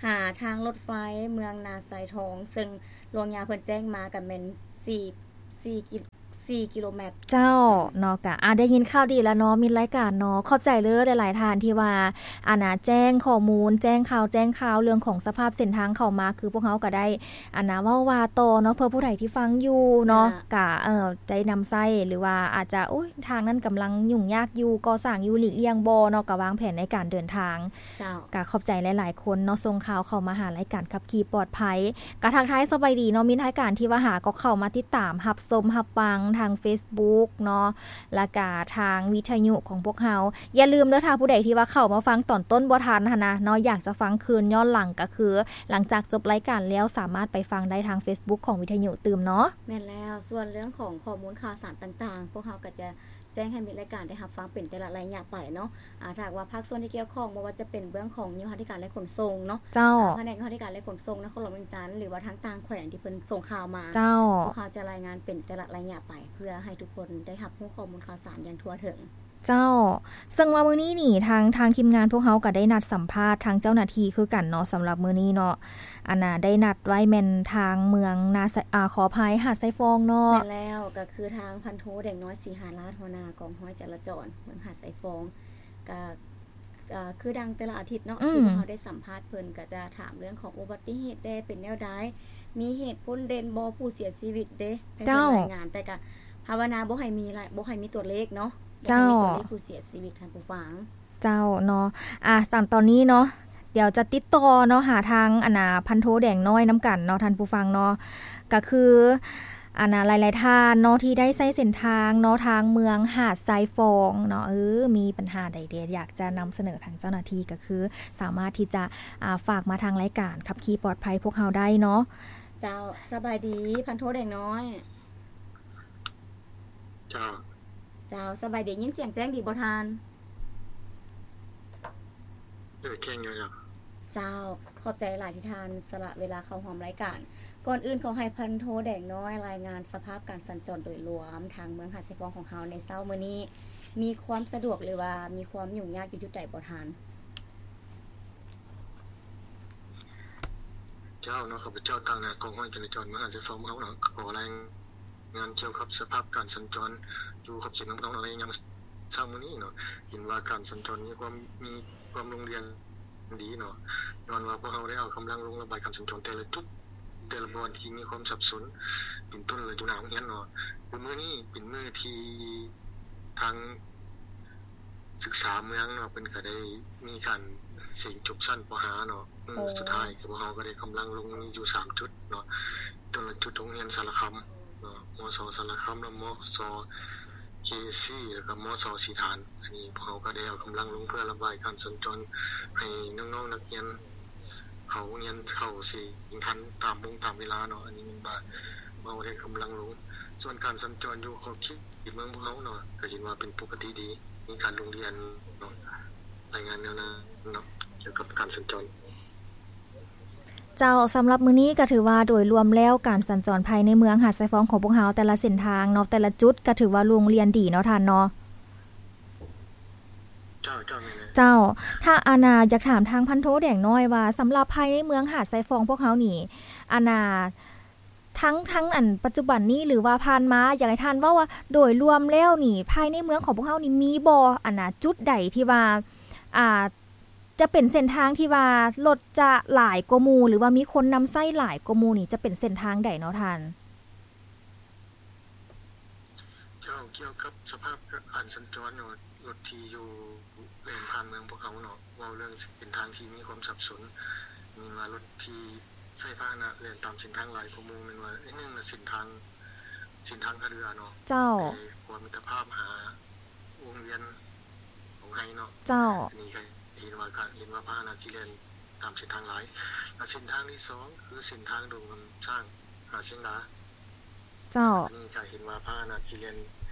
ຫາທາງລົດໄຟເມືອງນາຊາຍທອງ ເຊິ່ງຫຼວງຍາເພິ່ນແຈ້ງມາກໍແມ່ນສີ່ ສີ່ກິ ສີ່ກິໂລແມັດ. ເຈົ້າ ເນາະ. ກະ ອ່າ ໄດ້ຍິນຂ່າວດີແລ້ວເນາະ ມິດລາຍການເນາະ. ຂອບໃຈເລີຍຫຼາຍໆທ່ານທີ່ວ່າ ອັນນ່າ ແຈ້ງຂໍ້ມູນ ແຈ້ງຂ່າວ ແຈ້ງຂ່າວເລື່ອງຂອງສະພາບເສັ້ນທາງເຂົ້າມາ ຄືພວກເຮົາກໍໄດ້ ອັນນ່າ ເວົ້າວ່າຕໍ່ເນາະ ເພື່ອຜູ້ໃດທີ່ຟັງຢູ່ເນາະ ອ່າ ກະ ເອີ ໄດ້ນຳໃຊ້ ຫຼືວ່າອາດຈະ ໂອ້ຍ ທາງນັ້ນກຳລັງຫຍຸ້ງຍາກຢູ່ ກໍ່ສ້າງຢູ່ ຫຼີກລ່ຽງບໍ່ເນາະ ກະວາງແຜນໃນການເດີນທາງ. ເຈົ້າ. ກະຂອບໃຈຫຼາຍໆຄົນເນາະ ສົ່ງຂ່າວເຂົ້າມາຫາລາຍການຂັບຂີ່ປອດໄພ. ກະທັກທາຍສະບາຍດີເນາະ ມິດລາຍການທີ່ວ່າຫາກໍເຂົ້າມາຕິດຕາມ ຮັບຊົມ ຮັບຟັງທາງເຟສບຸກເນາະ ແລ້ວກະທາງວິທະຍຸຂອງພວກເຮົາ. ຢ່າລືມເດີ ຖ້າຜູ້ໃດທີ່ວ່າເຂົ້າມາຟັງຕອນຕົ້ນບໍ່ທັນຫັ້ນນະເນາະ ຢາກຈະຟັງຄືນຍ້ອນຫຼັງ ກະຄືຫຼັງຈາກຈົບລາຍການແລ້ວ ສາມາດໄປຟັງໄດ້ທາງເຟສບຸກຂອງວິທະຍຸຕື່ມເນາະ. ແມ່ນແລ້ວ. ສ່ວນເລື່ອງຂອງຂໍ້ມູນຂ່າວສານຕ່າງໆ ພວກເຮົາກໍຈະ ແຈ້ງໃຫ້ມິດລາຍການໄດ້ຮັບຟັງເປັນແຕ່ລະໄລຍະໄປເນາະ. ອ່າ ຖ້າຫາກວ່າພາກສ່ວນທີ່ກ່ຽວຂ້ອງ ບໍ່ວ່າຈະເປັນເບື້ອງຂອງໂຍທາທິການ ແລະ ຂົນສົ່ງເນາະ. ເຈົ້າ. ອ່າ ພະແນກໂຍທາທິການ ແລະ ຂົນສົ່ງ ນະຄອນຫຼວງວຽງຈັນ ຫຼືວ່າທາງຕ່າງແຂວງທີ່ເພິ່ນສົ່ງຂ່າວມາ. ເຈົ້າ. ພວກເຮົາຈະລາຍງານເປັນແຕ່ລະໄລຍະໄປ ເພື່ອໃຫ້ທຸກຄົນໄດ້ຮັບຮູ້ຂໍ້ມູນຂ່າວສານຢ່າງທົ່ວເຖິງ. ເຈົ້າ. ເຊິ່ງວ່າມື້ນີ້ນີ້ ທາງ ທາງທີມງານພວກເຮົາກໍໄດ້ນັດສຳພາດທາງເຈົ້າໜ້າທີ່ຄືກັນເນາະ ສຳລັບມື້ນີ້ເນາະ. ອັນນ່າ ໄດ້ນັດໄວ້ແມ່ນທາງເມືອງນາຊາຍ ອາ ຂໍອະໄພ ຫາດຊາຍຟອງເນາະ. ແມ່ນແລ້ວ. ກໍຄືທາງພັນໂທ ແດງນ້ອຍ ສີຫາລາດ ຫົວໜ້າກອງຮ້ອຍຈະລາຈອນເມືອງຫາດຊາຍຟອງ ກໍ ເອີ ຄືດັ່ງແຕ່ລະອາທິດເນາະ ອືມ ທີ່ພວກເຮົາໄດ້ສຳພາດເພິ່ນ ກໍຈະຖາມເລື່ອງຂອງອຸບັດຕິເຫດແດ່ ເປັນແນວໃດ ມີເຫດພົ້ນເດັ່ນບໍ່ ຜູ້ເສຍຊີວິດເດ້ ເຈົ້າ ໃຜເພິ່ນລາຍງານ ແຕ່ກໍພາວະນາບໍ່ໃຫ້ມີລະ ບໍ່ໃຫ້ມີຕົວເລກເນາະ ບໍ່ໃຫ້ມີຕົວເລກ ເຈົ້າ ຜູ້ເສຍຊີວິດ ທ່ານຜູ້ຟັງ. ເຈົ້າເນາະ. ອ່າ ຕາມຕອນນີ້ເນາະ ດຽວຈະຕິດຕໍ່ເນາະ ຫາທາງ ອັນນ່າ ພັນໂທ ແດງນ້ອຍນຳກັນເນາະ ທ່ານຜູ້ຟັງເນາະ. ກະຄື ອັນນ່າ ຫຼາຍໆທ່ານເນາະ ທີ່ໄດ້ໃຊ້ເສັ້ນທາງເນາະ ທາງເມືອງຫາດຊາຍຟອງເນາະ ເອີ ມີບັນຫາໃດເດ ຢາກຈະນຳສະເໜີທາງເຈົ້າໜ້າທີ່ ກະຄືສາມາດທີ່ຈະ ອ່າ ຝາກມາທາງລາຍການຂັບຂີ່ປອດໄພພວກເຮົາໄດ້ເນາະ. ເຈົ້າ. ສະບາຍດີ ພັນໂທ ແດງນ້ອຍ. ເຈົ້າ. ເຈົ້າ ສະບາຍດີ ຍິນສຽງແຈ້ງດີບໍ່ທ່ານ? ເອີ ແຈ້ງຢູ່ເຈົ້າ. ເຈົ້າ. ຂອບໃຈຫຼາຍທີ່ທ່ານສະຫຼະເວລາເຂົ້າຮ່ວມລາຍການ. ກ່ອນອື່ນຂໍໃຫ້ພັນໂທ ແດງນ້ອຍ ລາຍງານສະພາບການສັນຈອນໂດຍລວມ ທາງເມືອງຫາດຊາຍຟອງຂອງເຮົາໃນເຊົ້າມື້ນີ້ ມີຄວາມສະດວກ ຫຼືວ່າມີຄວາມຫຍຸ້ງຍາກຢູ່ຈຸດໃດບໍ່ທ່ານ? ເຈົ້າເນາະ ຂ້າພະເຈົ້າຕາງໜ້າກອງຮ້ອຍຈະລາຈອນເມືອງຫາດຊາຍຟອງເຮົາເນາະ ຂໍລາຍງານກ່ຽວກັບສະພາບການສັນຈອນຢູ່ຂອບເຂດເມືອງພະເນົາເນາະ ໃນຍາມເຊົ້າມື້ນີ້ເນາະ ເຫັນວ່າການສັນຈອນມີຄວາມ ມີຄວາມລົງເລື່ອງດີເນາະ ຍ້ອນວ່າພວກເຮົາໄດ້ເອົາກຳລັງລົງລະບາຍການສັນຈອນແຕ່ລະຈຸດ ແຕ່ລະບ່ອນທີ່ມີຄວາມສັບສົນ ເປັນຕົ້ນລະຢູ່ໜ້າໂຮງຮຽນເນາະ. ຄືມື້ນີ້ເປັນມື້ທີ່ທາງ ສຶກສາເມືອງເນາະ ເພິ່ນກະໄດ້ມີການເສັງຈົບຊັ້ນ ປໍຫ້າ ເນາະ ມື້ ໂອ້ ສຸດທ້າຍ ພວກເຮົາກະໄດ້ກຳລັງລົງຢູ່ສາມຈຸດເນາະ ຕົ້ນລະຈຸດໂຮງຮຽນສາລະຄຳເນາະ ມສ ສາລະຄຳ ແລະ ມສ ເຄເອສຊີ ແລ້ວກໍ ມສ ສີຖານ. ອັນນີ້ພວກເຮົາກໍໄດ້ເອົາກຳລັງລົງເພື່ອລະບາຍການສັນຈອນໃຫ້ນ້ອງໆນັກຮຽນເຂົ້າໂຮງຮຽນ ເຂົ້າເສັງທັນຕາມໂມງຕາມເວລາເນາະ. ອັນນີ້ແມ່ນວ່າເຮົາໄດ້ກຳລັງລົງ. ສ່ວນການສັນຈອນຢູ່ຂອບເຂດເມືອງພວກເຮົາເນາະ ກໍເຫັນວ່າເປັນປົກກະຕິດີ ມີການລົງທະບຽນເນາະ. ລາຍງານແນວນັ້ນເນາະ ກ່ຽວກັບການສັນຈອນ. ເຈົ້າ, ສຳລັບມື້ນີ້ກໍຖືວ່າໂດຍລວມແລ້ວ ການສັນຈອນພາຍໃນເມືອງຫາດຊາຍຟອງຂອງພວກເຮົາ ແຕ່ລະເສັ້ນທາງເນາະ ແຕ່ລະຈຸດ ກໍຖືວ່າລົງລຽນດີເນາະທ່ານເນາະ. ເຈົ້າ, ເຈົ້າ, ແມ່ນແລ້ວ. ເຈົ້າ, ຖ້າ ອັນນ່າ ຢາກຖາມທາງພັນໂທແດງນ້ອຍວ່າ ສຳລັບພາຍໃນເມືອງຫາດຊາຍຟອງພວກເຮົານີ້ ອັນນ່າ ທັງ, ທັງ ອັນ ປັດຈຸບັນນີ້ ຫຼືວ່າຜ່ານມາ ຢາກໃຫ້ທ່ານເວົ້າວ່າ ໂດຍລວມແລ້ວນີ້ ພາຍໃນເມືອງຂອງພວກເຮົານີ້ ມີບໍ່ ອັນນ່າ ຈຸດໃດທີ່ວ່າ ອ່າ ຈະເປັນເສັ້ນທາງທີ່ວ່າລົດຈະຫຼາຍກວ່າໝູ່ ຫຼືວ່າມີຄົນນຳໃຊ້ຫຼາຍກວ່າໝູ່ນີ້ ຈະເປັນເສັ້ນທາງໃດເນາະທ່ານ? ເຈົ້າ, ກ່ຽວກັບສະພາບການສັນຈອນເນາະ ລົດທີ່ຢູ່ແລ່ນຜ່ານເມືອງພວກເຮົາເນາະ ເວົ້າເລື່ອງເສັ້ນທາງທີ່ມີຄວາມສັບສົນ ແມ່ນວ່າລົດທີ່ໃຊ້ພາຫະນະແລ່ນຕາມເສັ້ນທາງຫຼາຍກວ່າໝູ່ ແມ່ນວ່າ ອັນໜຶ່ງນະ ເສັ້ນທາງ, ເສັ້ນທາງທ່າເຮືອເນາະ. ເຈົ້າ. ໄປຂົວມິດຕະພາບຫາ ວົງວຽນຂອງໄຮເນາະ. ເຈົ້າ. ອັນນີ້ກໍເຫັນວ່າກະ ເຫັນວ່າພາຫະນະທີ່ແລ່ນຕາມເສັ້ນທາງຫຼາຍ. ແລະເສັ້ນທາງທີສອງ ຄືເສັ້ນທາງດົງຄຳຊ້າງຫາຊຽງດາ. ເຈົ້າ. ອັນນີ້ກະເຫັນວ່າພາຫະນະທີ່ແລ່ນ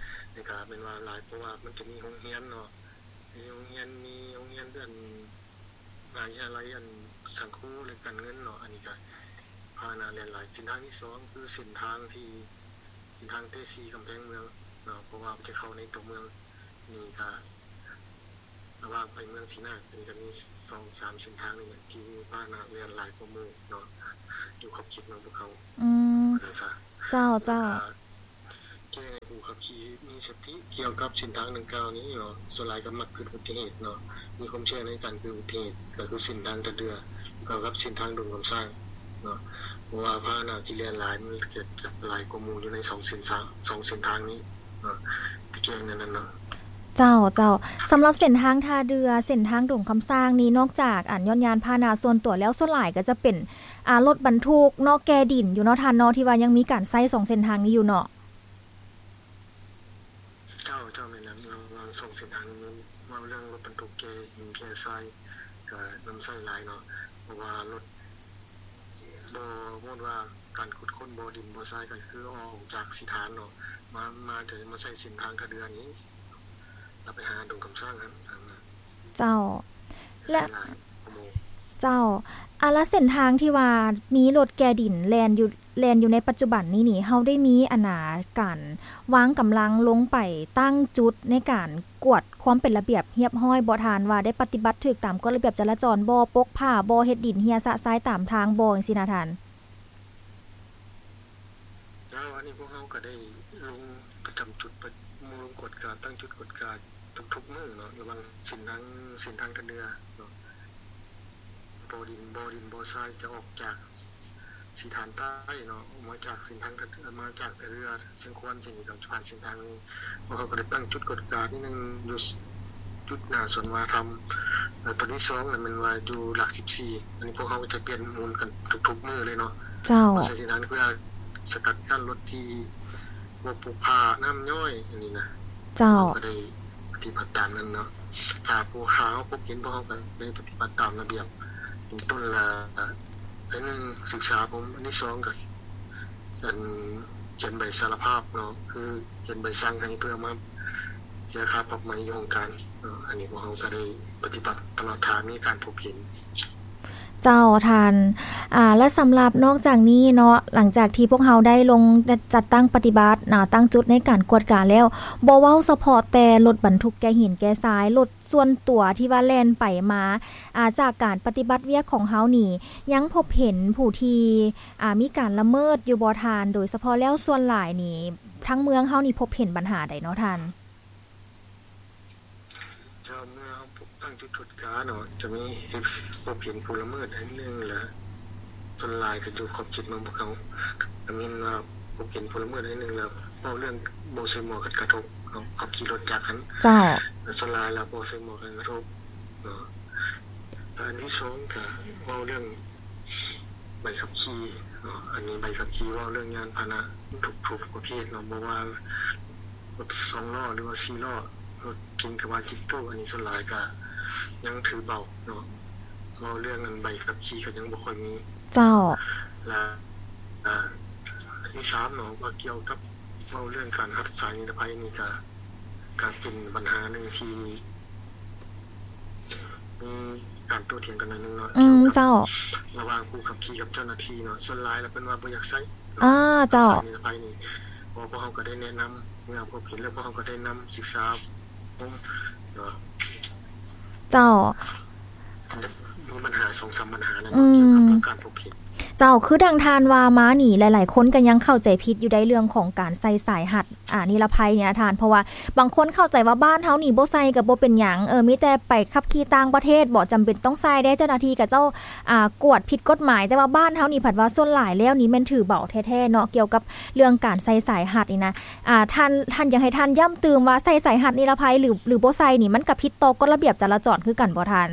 ນີ້ກະແມ່ນວ່າຫຼາຍ ເພາະວ່າມັນຈະມີໂຮງຮຽນເນາະ, ມີໂຮງຮຽນ, ມີໂຮງຮຽນອັນ ມະຫາວິທະຍາໄລອັນສັງຄູ ແລະ ການເງິນເນາະ. ອັນນີ້ກະພາຫະນະແລ່ນຫຼາຍ. ເສັ້ນທາງທີສອງ ຄືເສັ້ນທາງທີ່ ເສັ້ນທາງເຕຊີກຳແພງເມືອງເນາະ ເພາະວ່າມັນຈະເຂົ້າໃນຕົວເມືອງ. ນີ້ກະລະຫວ່າງໄປເມືອງສີນາກ ນີ້ກະມີສອງສາມເສັ້ນທາງນີ້ແຫຼະ ທີ່ມີພາຫະນະແລ່ນຫຼາຍກວ່າໝູ່ເນາະ ຢູ່ຂອບເຂດເມືອງພວກເຮົາ. ອືມ ວ່າຊັ້ນຊະ. ເຈົ້າ, ເຈົ້າ. ແລະກະແຈ້ງໃຫ້ຜູ້ຂັບຂີ່ມີສະຕິກ່ຽວກັບເສັ້ນທາງດັ່ງກ່າວນີ້ເນາະ, ສ່ວນຫຼາຍກໍມັກເກີດອຸບັດຕິເຫດເນາະ, ມີຄວາມສ່ຽງໃນການເກີດອຸບັດຕິເຫດ ກໍຄືເສັ້ນທາງທ່າເຮືອ ກັບເສັ້ນທາງດົງຄຳຊ້າງເນາະ ເພາະວ່າພາຫະນະທີ່ແລ່ນຫຼາຍ ມັນຈະຫຼາຍກວ່າໝູ່ຢູ່ໃນສອງເສັ້ນທາງ, ສອງເສັ້ນທາງນີ້ເນາະ ທີ່ແຈ້ງແນວນັ້ນເນາະ. ເຈົ້າ, ເຈົ້າ. ສຳລັບເສັ້ນທາງທ່າເຮືອ ເສັ້ນທາງດົງຄຳຊ້າງນີ້ ນອກຈາກ ອັນ ຍ້ອນຍານພາຫະນະສ່ວນຕົວແລ້ວ ສ່ວນຫຼາຍກໍຈະເປັນ ອ່າ ລົດບັນທຸກເນາະ ແກ່ດິນຢູ່ເນາະທ່ານເນາະ ທີ່ວ່າຍັງມີການໃຊ້ສອງເສັ້ນທາງນີ້ຢູ່ເນາະ. ເຈົ້າ, ເຈົ້າ, ແມ່ນແລ້ວ. ລະຫວ່າງສອງເສັ້ນທາງນີ້ ເວົ້າເລື່ອງລົດບັນທຸກແກ່ຫີນແກ່ຊາຍ ກໍນຳໃຊ້ຫຼາຍເນາະ, ເພາະວ່າລົດ ບໍ່ ບໍ່ວ່າການຂຸດຄົ້ນບໍ່ດິນບໍ່ຊາຍ ກໍຄືອອກຈາກສີຖານເນາະ ມາ ມາ ຈະມາໃຊ້ເສັ້ນທາງທ່າເຮືອນີ້ ແລ້ວໄປຫາດົງຄຳຊ້າງຫັ້ນ. ເຈົ້າ. ແລະ ເຈົ້າ, ອາ ລະເສັ້ນທາງທີ່ວ່າມີລົດແກ່ດິນແລ່ນຢູ່ ແລ່ນຢູ່ໃນປັດຈຸບັນນີ້ນີ້ ເຮົາໄດ້ມີ ອັນນ່າ ການວາງກຳລັງລົງໄປຕັ້ງຈຸດໃນການກວດຄວາມເປັນລະບຽບຮຽບຮ້ອຍບໍ່ທ່ານ? ວ່າໄດ້ປະຕິບັດຖືກຕາມກົດລະບຽບຈະລາຈອນບໍ່? ປົກຜ້າບໍ່? ເຮັດດິນເຮ່ຍຊະຊາຍຕາມທາງບໍ່? ຈັ່ງຊີ້ນະທ່ານ. ແລ້ວອັນນີ້ພວກເຮົາກໍໄດ້ລົງປະຈຳຈຸດ ລົງກວດກາ ຕັ້ງຈຸດກວດກາທຸກໆມື້ເນາະ ລະຫວ່າງເສັ້ນທາງ ເສັ້ນທາງທ່າເຮືອເນາະ ບໍ່ດິນ ບໍ່ດິນບໍ່ຊາຍ ຈະອອກຈາກສີຖານໃຕ້ເນາະ ອອກມາຈາກເສັ້ນທາງທ່າເຮືອ ມາຈາກທ່າເຮືອຊຽງຄວນ ເສັ້ນນີ້ກໍຈະຜ່ານເສັ້ນທາງນີ້. ພວກເຮົາກໍໄດ້ຕັ້ງຈຸດກວດກາທີ່ໜຶ່ງຢູ່ຈຸດໜ້າສວນວັດທະນະທຳ ແລະ ຕົວທີສອງນັ້ນແມ່ນວ່າຢູ່ຫຼັກສິບສີ່ ອັນນີ້ພວກເຮົາກໍຈະປ່ຽນໝູນກັນທຸກໆມື້ເລີຍເນາະ. ເຈົ້າ. ເຮົາໃຊ້ເສັ້ນທາງເພື່ອສະກັດກັ້ນລົດທີ່ບໍ່ປຸກຜ່ານ້ຳຍ້ອຍ ອັນນີ້ນະ. ເຈົ້າ. ເຮົາກໍໄດ້ປະຕິບັດຕາມນັ້ນເນາະ ຖ້າຜູ້ ຖ້າເຮົາພົບເຫັນ ພວກເຮົາກໍໄດ້ປະຕິບັດຕາມລະບຽບ ເປັນຕົ້ນລະ ອັນໜຶ່ງສຶກສາຜົມ ອັນທີສອງກໍ ອັນ ຂຽນໃບສາລະພາບເນາະ ຄືຂຽນໃບສັ່ງໃຫ້ເພື່ອມາເສຍຄ່າປັບໃໝຢູ່ຫ້ອງການເນາະ. ອັນນີ້ພວກເຮົາກໍໄດ້ປະຕິບັດຕະຫຼອດຖ້າມີການພົບເຫັນ. ເຈົ້າທ່ານ. ອາ ແລະ ສຳລັບນອກຈາກນີ້ເນາະ ຫຼັງຈາກທີ່ພວກເຮົາໄດ້ລົງຈັດຕັ້ງປະຕິບັດ ອາ ຕັ້ງຈຸດໃນການກວດກາແລ້ວ ບໍ່ເວົ້າສະເພາະແຕ່ລົດບັນທຸກແກ່ຫີນແກ່ຊາຍ ລົດ ສ່ວນຕົວທີ່ວ່າແລ່ນໄປມາ ອາ ຈາກການປະຕິບັດວຽກຂອງເຮົານີ້ ຍັງພົບເຫັນຜູ້ທີ່ ອາ ມີການລະເມີດຢູ່ບໍ່ທ່ານ? ໂດຍສະເພາະແລ້ວສ່ວນຫຼາຍນີ້ ທາງເມືອງເຮົານີ້ພົບເຫັນບັນຫາໃດເນາະທ່ານ? ເຈົ້າ, ເມື່ອເຮົາຕັ້ງຈຸດກວດກາເນາະ ຈະມີ ພົບເຫັນຜູ້ລະເມີດໃນໜຶ່ງ ແລະ ສ່ວນຫຼາຍກໍຢູ່ຂອບເຂດເມືອງພວກເຮົາ ກໍແມ່ນວ່າພົບເຫັນຜູ້ລະເມີດໃນໜຶ່ງ ແລ້ວເວົ້າເລື່ອງບໍ່ໃສ່ໝວກກັນນັກກະທົບເນາະ ຂັບຂີ່ລົດຈັກຫັ້ນ. ເຈົ້າ. ແລະ ສ່ວນຫຼາຍແລ້ວບໍ່ໃສ່ໝວກກັນນັກກະທົບເນາະ. ແລະ ອັນທີສອງກໍເວົ້າເລື່ອງໃບຂັບຂີ່ເນາະ ອັນນີ້ໃບຂັບຂີ່ ເວົ້າເລື່ອງຍານພາຫະນະທຸກໆປະເພດເນາະ ບໍ່ວ່າ ລົດສອງລໍ້ ຫຼືວ່າສີ່ລໍ້ ລົດເກັງກະບະຕິດຕູ້ ອັນນີ້ສ່ວນຫຼາຍກະຍັງຖືເບົາເນາະ ເວົ້າເລື່ອງອັນໃບຂັບຂີ່ກະຍັງບໍ່ຄ່ອຍມີ. ເຈົ້າ. ແລະ ອັນທີສາມເນາະ ວ່າກ່ຽວກັບເວົ້າເລື່ອງການຮັດສາຍນິລະໄພນີ້ກະ ກະເປັນບັນຫາໜຶ່ງທີ່ມີການໂຕ້ຖຽງກັນໜ້ອຍໜຶ່ງເນາະ. ອືມ ເຈົ້າ. ລະຫວ່າງຜູ້ຂັບຂີ່ກັບເຈົ້າໜ້າທີ່ເນາະ ສ່ວນຫຼາຍລະເພິ່ນວ່າບໍ່ຢາກໃຊ້. ອາ ເຈົ້າ. ສາຍນິລະໄພນີ້ ເພາະພວກເຮົາກະໄດ້ແນະນຳເມື່ອພົບເຫັນ ແລ້ວພວກເຮົາກະໄດ້ນຳສຶກສາອົບຮົມເນາະ. ເຈົ້າ. ມີບັນຫາສອງສາມບັນຫານັ້ນ ອືມ ກ່ຽວກັບການພົບເຫັນ. ເຈົ້າ. ຄືດັ່ງທ່ານວ່າມານີ້ ຫຼາຍໆຄົນກະຍັງເຂົ້າໃຈຜິດຢູ່ໃນເລື່ອງຂອງການໃສ່ສາຍຮັດ ອາ ນິລະໄພນີ້ນະທ່ານ ເພາະວ່າບາງຄົນເຂົ້າໃຈວ່າບ້ານເຮົານີ້ບໍ່ໃສ່ກະບໍ່ເປັນຫຍັງ ເອີ ມີແຕ່ໄປຂັບຂີ່ຕ່າງປະເທດບໍ ຈຳເປັນຕ້ອງໃສ່ເດ້ ເຈົ້າໜ້າທີ່ເຂົາເຈົ້າ ອາ ກວດຜິດກົດໝາຍ ແຕ່ວ່າບ້ານເຮົານີ້ພັດວ່າສ່ວນຫຼາຍແລ້ວນີ້ແມ່ນຖືເບົາແທ້ໆເນາະ ກ່ຽວກັບເລື່ອງການໃສ່ສາຍຮັດນີ້ນະ. ອາ ທ່ານ ທ່ານຢາກໃຫ້ທ່ານຢ້ຳຕື່ມວ່າໃສ່ສາຍຮັດນິລະໄພ ຫຼື ຫຼືບໍ່ໃສ່ນີ້ ມັນກະຜິດຕໍ່ກົດລະບຽບຈະລາຈອນຄືກັນບໍ່ທ່ານ?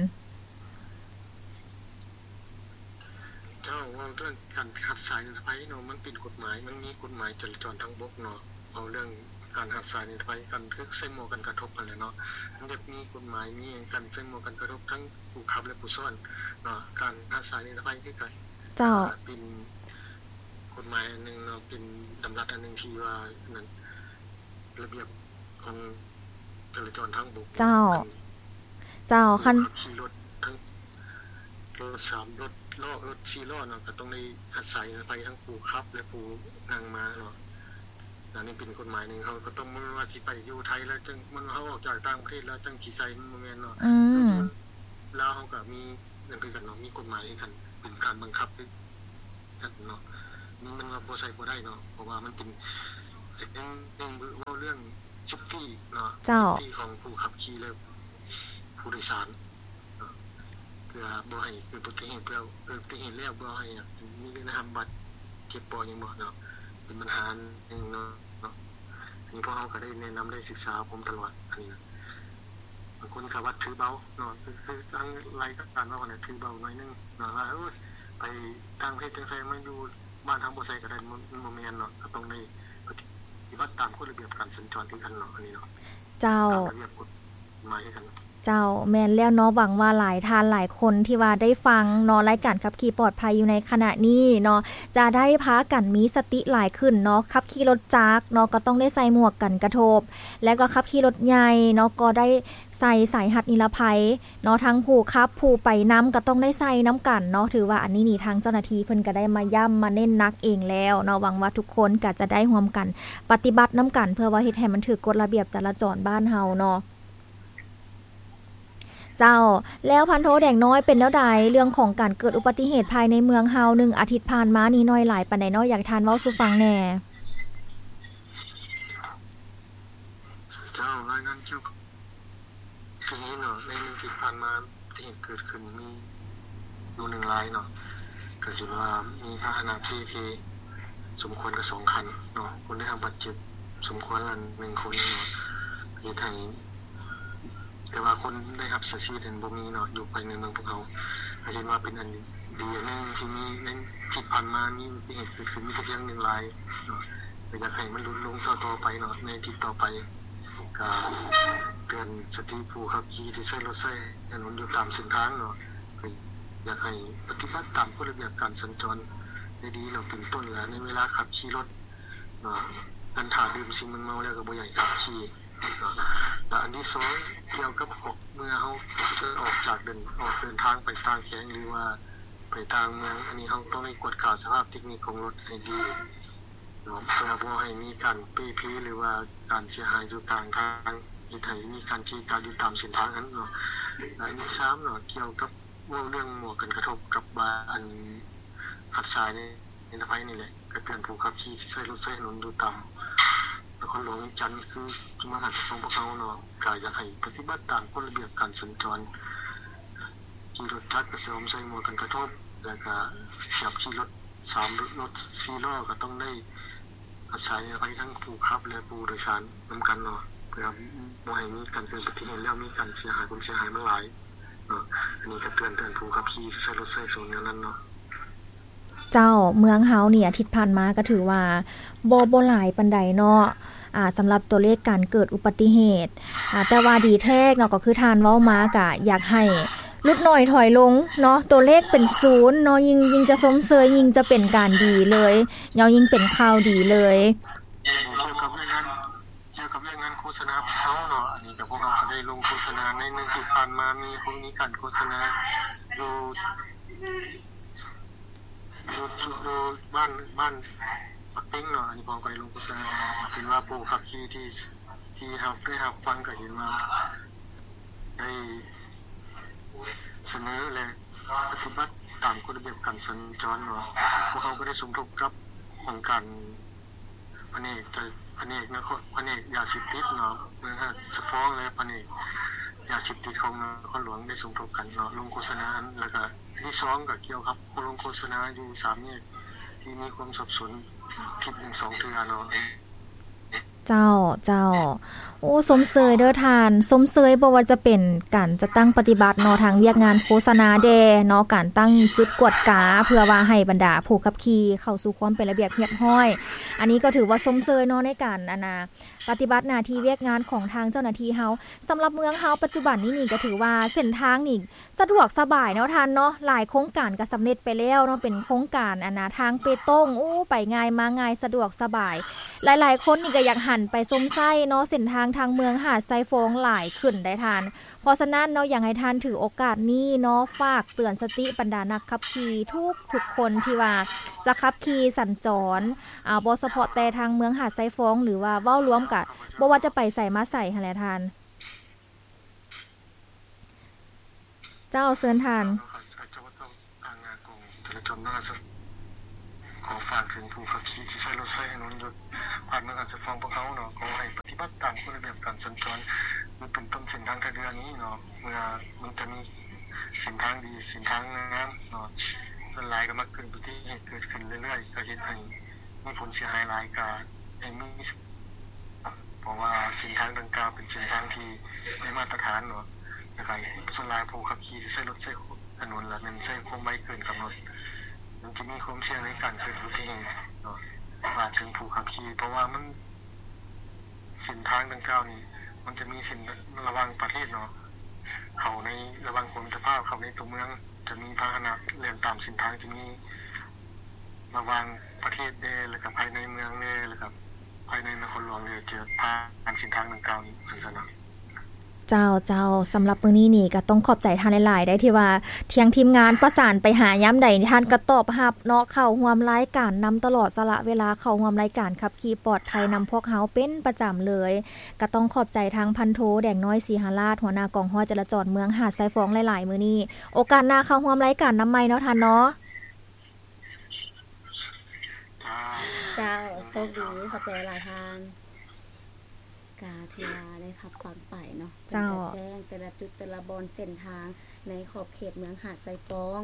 ເຈົ້າ ເວົ້າເລື່ອງການຮັດສາຍນິລະໄພເນາະ ມັນເປັນກົດໝາຍ ມັນມີກົດໝາຍຈະລາຈອນທາງບົກເນາະ. ເວົ້າເລື່ອງການຮັດສາຍນິລະໄພ ການ ຄືໃສ່ໝວກກັນກະທົບຫັ້ນແຫຼະເນາະ ມັນຈະມີກົດໝາຍ ມີການໃສ່ໝວກກັນກະທົບທັງຜູ້ຂັບ ແລະ ຜູ້ຊ້ອນເນາະ ການຮັດສາຍນິລະໄພຄືກັນ. ເຈົ້າ. ເປັນກົດໝາຍອັນໜຶ່ງເນາະ ເປັນດຳລັດອັນໜຶ່ງທີ່ວ່ານັ້ນ ລະບຽບຂອງຈະລາຈອນທາງບົກ. ເຈົ້າ. ເຈົ້າ. ຄັນ ຜູ້ຂັບຂີ່ລົດທັງ ລົດສາມ ລົດລໍ້ ລົດສີ່ລໍ້ເນາະ ກະຕ້ອງໄດ້ຮັດສາຍນິລະໄພທັງຜູ້ຂັບ ແລະ ຜູ້ນັ່ງມາເນາະ. ອັນນີ້ເປັນກົດໝາຍໜຶ່ງ ເຮົາກະຕ້ອງ ບໍ່ແມ່ນວ່າຊິໄປຢູ່ໄທແລ້ວຈຶ່ງ ມັນ ເຮົາອອກຈາກຕ່າງປະເທດແລ້ວຈຶ່ງຊິໃສ່ ມັນບໍ່ແມ່ນເນາະ. ອືມ ລາວເຮົາກະມີນັ້ນຄືກັນເນາະ ມີກົດໝາຍຄືກັນ ເປັນການບັງຄັບ ເນາະ ນີ້ມັນວ່າບໍ່ໃສ່ບໍ່ໄດ້ເນາະ ເພາະວ່າມັນເປັນ ເປັນ ເປັນເວົ້າເລື່ອງເຊບຕີ້ເນາະ. ເຈົ້າ. ເຊບຕີ້ຂອງຜູ້ຂັບຂີ່ ແລະ ຜູ້ໂດຍສານເນາະ ເພື່ອບໍ່ໃຫ້ເກີດອຸບັດຕິເຫດ ເພື່ອເກີດອຸບັດຕິເຫດແລ້ວບໍ່ໃຫ້ມີເລື່ອງໄດ້ຮັບບາດເຈັບບໍ່ຫຍັງບໍ່ເນາະ ເປັນບັນຫາໜຶ່ງເນາະ. ອັນນີ້ພວກເຮົາກະໄດ້ແນະນຳ ໄດ້ສຶກສາອົບຮົມຕະຫຼອດ ອັນນີ້ນະ. ບາງຄົນກະວ່າຖືເບົາເນາະ ຄື ຄືທາງລາຍການເວົ້າຫັ້ນແຫຼະ ຖືເບົາໜ້ອຍໜຶ່ງເນາະ ວ່າ ໂອ້ຍ ໄປຕ່າງປະເທດຈັ່ງໃສ່ ມາຢູ່ບ້ານເຮົາບໍ່ໃສ່ກະໄດ້ ມັນ ມັນບໍ່ແມ່ນເນາະ ກະຕ້ອງໄດ້ປະຕິບັດຕາມກົດລະບຽບການສັນຈອນຄືກັນເນາະ ອັນນີ້ເນາະ. ເຈົ້າ. ຕາມລະບຽບກົດໝາຍຄືກັນ. ເຈົ້າ ແມ່ນແລ້ວເນາະ ຫວັງວ່າຫຼາຍທ່ານຫຼາຍຄົນທີ່ວ່າໄດ້ຟັງເນາະ ລາຍການຂັບຂີ່ປອດໄພຢູ່ໃນຂະນະນີ້ເນາະ ຈະໄດ້ພາກັນມີສະຕິຫຼາຍຂຶ້ນເນາະ ຂັບຂີ່ລົດຈັກເນາະ ກະຕ້ອງໄດ້ໃສ່ໝວກກັນກະທົບ ແລະ ກະຂັບຂີ່ລົດໃຫຍ່ເນາະ ກະໄດ້ໃສ່ສາຍຮັດນິລະໄພ ເນາະ ທັງຜູ້ຂັບຜູ້ໄປນຳກະຕ້ອງໄດ້ໃສ່ນຳກັນເນາະ. ຖືວ່າອັນນີ້ນີ້ທາງເຈົ້າໜ້າທີ່ເພິ່ນກະໄດ້ມາຢ້ຳມາເນັ້ນໜັກເອງແລ້ວເນາະ ຫວັງວ່າທຸກຄົນກະຈະໄດ້ຮ່ວມກັນປະຕິບັດນຳກັນ ເພື່ອວ່າເຮັດໃຫ້ມັນຖືກກົດລະບຽບຈະລາຈອນບ້ານເຮົາເນາະ. ເຈົ້າ ແລ້ວພັນໂທແດງນ້ອຍ ເປັນແນວໃດເລື່ອງຂອງການເກີດອຸບັດຕິເຫດພາຍໃນເມືອງເຮົາ ໜຶ່ງອາທິດຜ່ານມານີ້ ໜ້ອຍຫຼາຍປານໃດເນາະ ຢາກໃຫ້ທ່ານເວົ້າສູ່ຟັງແດ່? ເຈົ້າ ລາຍງານກ່ຽວກັບ ຄືນີ້ເນາະ ໃນໜຶ່ງອາທິດຜ່ານມາ ອຸບັດຕິເຫດເກີດຂຶ້ນມີຢູ່ໜຶ່ງລາຍເນາະ ກະເຫັນວ່າມີພາຫະນະເປ່ເພສົມຄວນກະສອງຄັນເນາະ ຄົນໄດ້ຮັບບາດເຈັບສົມຄວນລະໜຶ່ງຄົນເນາະ ເຮັດໃຫ້ ແຕ່ວ່າຄົນໄດ້ຮັບເສຍຊີວິດນັ້ນບໍ່ມີເນາະ ຢູ່ພາຍໃນເມືອງພວກເຮົາ ກະເຫັນວ່າເປັນອັນດີອັນໜຶ່ງທີ່ມີໃນອາທິດຜ່ານມາ ມີອຸບັດຕິເຫດເກີດຂຶ້ນມີແຕ່ພຽງໜຶ່ງລາຍເນາະ ກະຢາກໃຫ້ມັນຫຼຸດລົງຕໍ່ໆໄປເນາະ ໃນອາທິດຕໍ່ໄປ ກະເຕືອນສະຕິຜູ້ຂັບຂີ່ທີ່ໃຊ້ລົດໃຊ້ຖະໜົນຢູ່ຕາມເສັ້ນທາງເນາະ ກະຢາກໃຫ້ປະຕິບັດຕາມກົດລະບຽບການສັນຈອນໃຫ້ດີເນາະ ເປັນຕົ້ນລະໃນເວລາຂັບຂີ່ລົດເນາະ ການຖ້າດື່ມສິ່ງມຶນເມົາແລ້ວກະບໍ່ຢາກໃຫ້ຂັບຂີ່ເນາະ ລະອັນທີສອງ ກ່ຽວກັບເມື່ອເຮົາຈະອອກຈາກເດີນ ອອກເດີນທາງໄປຕ່າງແຂວງ ຫຼືວ່າໄປຕ່າງເມືອງ ອັນນີ້ເຮົາຕ້ອງໄດ້ກວດກາສະພາບເຕັກນິກຂອງລົດໃຫ້ດີ ເນາະ ເພື່ອບໍ່ໃຫ້ມີການເປ່ເພ ຫຼືວ່າການເສຍຫາຍຢູ່ກາງທາງ ເຮັດໃຫ້ມີການເກະກະຢູ່ຕາມເສັ້ນທາງຫັ້ນເນາະ ແລະ ອັນທີສາມເນາະ ກ່ຽວກັບເວົ້າເລື່ອງໝວກກັນກະທົບກັບ ອັນ ຮັດສາຍນິລະໄພນີ້ແຫຼະ ກະເຕືອນຜູ້ຂັບຂີ່ທີ່ໃຊ້ລົດໃຊ້ຖະໜົນຢູ່ຕາມນະຄອນຫຼວງວຽງຈັນ ຄືເມືອງທ່າຂອງພວກເຮົາເນາະ ກະຢາກໃຫ້ປະຕິບັດຕາມກົດລະບຽບການສັນຈອນ ຂີ່ລົດຈັກກະສວມໃສ່ໝວກກັນກະທົບ ແລະ ກະຂັບຂີ່ລົດ ສາມ ລົດສີ່ລໍ້ກະຕ້ອງໄດ້ຮັດສາຍນິລະໄພທັງຜູ້ຂັບ ແລະ ຜູ້ໂດຍສານນຳກັນເນາະ ເພື່ອບໍ່ໃຫ້ມີການເກີດອຸບັດຕິເຫດ ແລ້ວມີການເສຍຫາຍ ຄວາມເສຍຫາຍມັນຫຼາຍເນາະ ອັນນີ້ກະເຕືອນ ເຕືອນຜູ້ຂັບຂີ່ທີ່ໃຊ້ລົດໃຊ້ຖະໜົນແນວນັ້ນເນາະ. ເຈົ້າ ເມືອງເຮົານີ້ອາທິດຜ່ານມາກະຖືວ່າບໍ່ ບໍ່ຫຼາຍປານໃດເນາະ ອ່າ ສຳລັບຕົວເລກການເກີດອຸບັດຕິເຫດ ອ່າ ແຕ່ວ່າດີແທ້ເນາະ ກໍຄືທ່ານເວົ້າມາ ກະຢາກໃຫ້ຫຼຸດໜ້ອຍຖອຍລົງເນາະ ຕົວເລກເປັນສູນເນາະ ຍິ່ງ ຍິ່ງຈະຊົມເຊີຍ ຍິ່ງຈະເປັນການດີເລີຍເນາະ ຍິ່ງເປັນຂ່າວດີເລີຍ. ກ່ຽວກັບວຽກງານ ກ່ຽວກັບວຽກງານໂຄສະນາຂອງເຮົາເນາະ ອັນນີ້ກໍພວກເຮົາກໍໄດ້ລົງໂຄສະນາໃນມື້ທີ່ຜ່ານມາ ມີ ມີການໂຄສະນາຢູ່ ຢູ່ ຢູ່ບ້ານ ບ້ານປາກເຕັງເນາະ ອັນນີ້ພວກເຮົາກໍໄດ້ລົງໂຄສະນາ ເຫັນວ່າຜູ້ຂັບຂີ່ທີ່ ທີ່ຮັບ ໄດ້ຮັບຟັງກໍເຫັນວ່າໄດ້ສະເໜີ ແລະ ປະຕິບັດຕາມກົດລະບຽບການສັນຈອນເນາະ ພວກເຮົາກໍໄດ້ສົມທົບກັບຫ້ອງການ ພະແນກ ພະແນກນະຄອນ ພະແນກຢາເສບຕິດເນາະ ເມືອງຫາດຊາຍຟອງ ແລະ ພະແນກຢາເສບຕິດຂອງນະຄອນຫຼວງໄດ້ສົມທົບກັນເນາະ ລົງໂຄສະນາ ແລ້ວກະອັນທີສອງກະກ່ຽວກັບໂຄ ລົງໂຄສະນາຢູ່ສາມແຍກທີ່ມີຄວາມສັບສົນທິດໜຶ່ງສອງເທື່ອເນາະ. ເຈົ້າ ເຈົ້າ ໂອ້ ຊົມເຊີຍເດີທ່ານ ຊົມເຊີຍບໍ່ວ່າຈະເປັນການຈັດຕັ້ງປະຕິບັດເນາະ ທັງວຽກງານໂຄສະນາແດ່ເນາະ ການຕັ້ງຈຸດກວດກາ ເພື່ອວ່າໃຫ້ບັນດາຜູ້ຂັບຂີ່ເຂົ້າສູ່ຄວາມເປັນລະບຽບຮຽບຮ້ອຍ ອັນນີ້ກໍຖືວ່າຊົມເຊີຍເນາະ ໃນການ ອັນນ່າ ປະຕິບັດໜ້າທີ່ວຽກງານຂອງທາງເຈົ້າໜ້າທີ່ເຮົາ. ສຳລັບເມືອງເຮົາປັດຈຸບັນນີ້ນີ້ ກໍຖືວ່າເສັ້ນທາງນີ້ສະດວກສະບາຍເນາະທ່ານເນາະ ຫຼາຍໂຄງການກໍສຳເລັດໄປແລ້ວເນາະ ເປັນໂຄງການ ອັນນ່າ ທາງເປຕົງ ໂອ້ ໄປງ່າຍມາງ່າຍ ສະດວກສະບາຍ ຫຼາຍໆຄົນນີ້ກໍຢາກຫັນໄປຊົມໃຊ້ເນາະ ເສັ້ນທາງທາງເມືອງຫາດຊາຍຟອງຫຼາຍຂຶ້ນໄດ໋ທ່ານ. ເພາະສະນັ້ນເນາະ ຢາກໃຫ້ທ່ານຖືໂອກາດນີ້ເນາະ ຝາກເຕືອນສະຕິບັນດານັກຂັບຂີ່ທຸກໆຄົນທີ່ວ່າຈະຂັບຂີ່ສັນຈອນ ອາ ບໍ່ສະເພາະແຕ່ທາງເມືອງຫາດຊາຍຟອງ ຫຼືວ່າເວົ້າລວມກະບໍ່ວ່າຈະໄປໃສມາໃສຫັ້ນແຫຼະທ່ານ. ເຈົ້າ ເຊີນທ່ານ. ທາງກອງຈະລາຈອນນະຄອນ ຂໍຝາກເຖິງຜູ້ຂັບຂີ່ທີ່ໃຊ້ລົດໃຊ້ຖະໜົນຢູ່ພາຍເມືອງຫາດຊາຍຟອງພວກເຮົາເນາະ ຂໍໃຫ້ປະຕິບັດຕາມກົດລະບຽບການສັນຈອນ ຫຼືເປັນຕົ້ນເສັ້ນທາງທ່າເຮືອນີ້ເນາະ ເມື່ອມັນຈະມີເສັ້ນທາງດີ ເສັ້ນທາງງາມເນາະ ສ່ວນຫຼາຍກໍມັກເກີດອຸບັດຕິເຫດເກີດຂຶ້ນເລື້ອຍໆ ກໍເຮັດໃຫ້ມີຜົນເສຍຫາຍຫຼາຍ ກໍໃຫ້ມີ ເພາະວ່າເສັ້ນທາງດັ່ງກ່າວເປັນເສັ້ນທາງທີ່ໄດ້ມາດຕະຖານເນາະ ແລ້ວກໍສ່ວນຫຼາຍຜູ້ຂັບຂີ່ຈະໃຊ້ລົດໃຊ້ຖະໜົນ ແລະ ແມ່ນໃຊ້ຄວາມໄວເກີນກຳນົດ ມັນຈະມີຄວາມສ່ຽງໃນການເກີດອຸບັດຕິເຫດເນາະ. ຝາກເຖິງຜູ້ຂັບຂີ່ ເພາະວ່າມັນ ເສັ້ນທາງດັ່ງກ່າວນີ້ ມັນຈະມີເສັ້ນລະຫວ່າງປະເທດເນາະ ເຂົ້າໃນລະຫວ່າງຂົວມິດຕະພາບ ເຂົ້າໃນຕົວເມືອງ ຈະມີພາຫະນະແລ່ນຕາມເສັ້ນທາງທີ່ມີ ລະຫວ່າງປະເທດແດ່ ແລ້ວກະພາຍໃນເມືອງແດ່ ແລ້ວກະພາຍໃນນະຄອນຫຼວງແດ່ ຈະຜ່ານເສັ້ນທາງດັ່ງກ່າວນີ້ ຈັ່ງຊັ້ນນະ. ເຈົ້າ ເຈົ້າ ສຳລັບມື້ນີ້ນີ້ກະຕ້ອງຂອບໃຈທ່ານຫຼາຍໆ ໄດ໋ ທີ່ວ່າທາງທີມງານປະສານໄປຫາຍາມໃດ ທ່ານກະຕອບຮັບເນາະ ເຂົ້າຮ່ວມລາຍການນຳຕະຫຼອດ ສະຫຼະເວລາເຂົ້າຮ່ວມລາຍການຂັບຂີ່ປອດໄພນຳພວກເຮົາເປັນປະຈຳເລີຍ. ກະຕ້ອງຂອບໃຈທາງພັນໂທ ແດງນ້ອຍ ສີຫະລາດ ຫົວໜ້າກອງຮ້ອຍຈະລາຈອນເມືອງຫາດຊາຍຟອງຫຼາຍໆ ມື້ນີ້ ໂອກາດໜ້າເຂົ້າຮ່ວມລາຍການນຳໃໝ່ເນາະທ່ານເນາະ. ເຈົ້າ ໂຊກດີ ຂອບໃຈຫຼາຍທ່ານ. ກະຖືວ່າໄດ້ຮັບຟັງໄປເນາະ ເຈົ້າ ເພິ່ນກະແຈ້ງແຕ່ລະຈຸດແຕ່ລະບ່ອນເສັ້ນທາງໃນຂອບເຂດເມືອງຫາດຊາຍຟອງ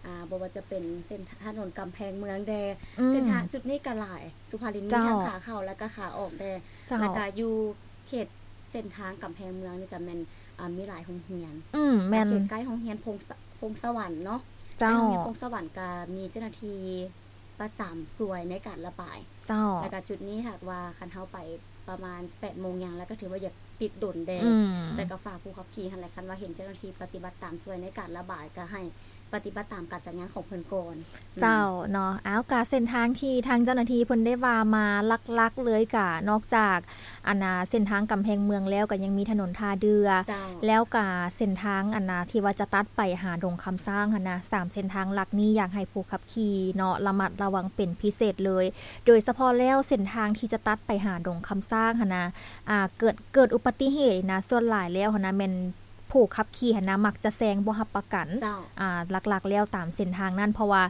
ອາ ບໍ່ວ່າຈະເປັນເສັ້ນຖະໜົນກຳແພງເມືອງແດ່ ອືມ ເສັ້ນທາງຈຸດນີ້ກະຫຼາຍ ສຸພາລິນ ມີ ເຈົ້າ ທັງຂາເຂົ້າ ແລະກະຂາອອກແດ່ ເຈົ້າ ແລະກະຢູ່ເຂດເສັ້ນທາງກຳແພງເມືອງນີ້ກະແມ່ນ ອາ ມີຫຼາຍໂຮງຮຽນ ອືມ ແມ່ນ ເຂດໃກ້ໂຮງຮຽນພົງສະ ພົງສະຫວັນເນາະ ເຈົ້າ ໃກ້ໂຮງຮຽນພົງສະຫວັນກະມີເຈົ້າໜ້າທີ່ ປະຈຳຊ່ວຍໃນການລະບາຍ ເຈົ້າ ແລ້ວກະຈຸດນີ້ຫາກວ່າຄັນເຮົາໄປປະມານແປດໂມງຫຍັງ ແລ້ວກະຖືວ່າຢາກຕິດດົນແດ່ ອືມ ແຕ່ກະຝາກຜູ້ຂັບຂີ່ຫັ້ນແຫຼະ ຄັນວ່າເຫັນເຈົ້າໜ້າທີ່ປະຕິບັດຕາມຊ່ວຍໃນການລະບາຍ ກະໃຫ້ປະຕິບັດຕາມການສັນຍາຂອງເພິ່ນກ່ອນ ເຈົ້າ ເນາະ. ອ້າວ ກະເສັ້ນທາງທີ່ທາງເຈົ້າໜ້າທີ່ເພິ່ນໄດ້ວ່າມາຫຼັກໆເລີຍ ກະນອກຈາກ ອັນນ່າ ເສັ້ນທາງກຳແພງເມືອງແລ້ວ ກະຍັງມີຖະໜົນທ່າເດື່ອ ເຈົ້າ ແລ້ວກະເສັ້ນທາງ ອັນນ່າ ທີ່ວ່າຈະຕັດໄປຫາດົງຄຳຊ້າງຫັ້ນນະ ສາມເສັ້ນທາງຫຼັກນີ້ ຢາກໃຫ້ຜູ້ຂັບຂີ່ເນາະ ລະມັດລະວັງເປັນພິເສດເລີຍ ໂດຍສະເພາະແລ້ວເສັ້ນທາງທີ່ຈະຕັດໄປຫາດົງຄຳຊ້າງຫັ້ນນະ ອາ ເກີດ ເກີດອຸບັດຕິເຫດນະ ສ່ວນຫຼາຍແລ້ວຫັ້ນນະ ແມ່ນຜູ້ຂັບຂີ່ຫັ້ນນະ ມັກຈະແຊງບໍ່ຮັບປະກັນ ເຈົ້າ ອາ ຫຼັກໆແລ້ວຕາມເສັ້ນທາງນັ້ນ ເພາະວ່າ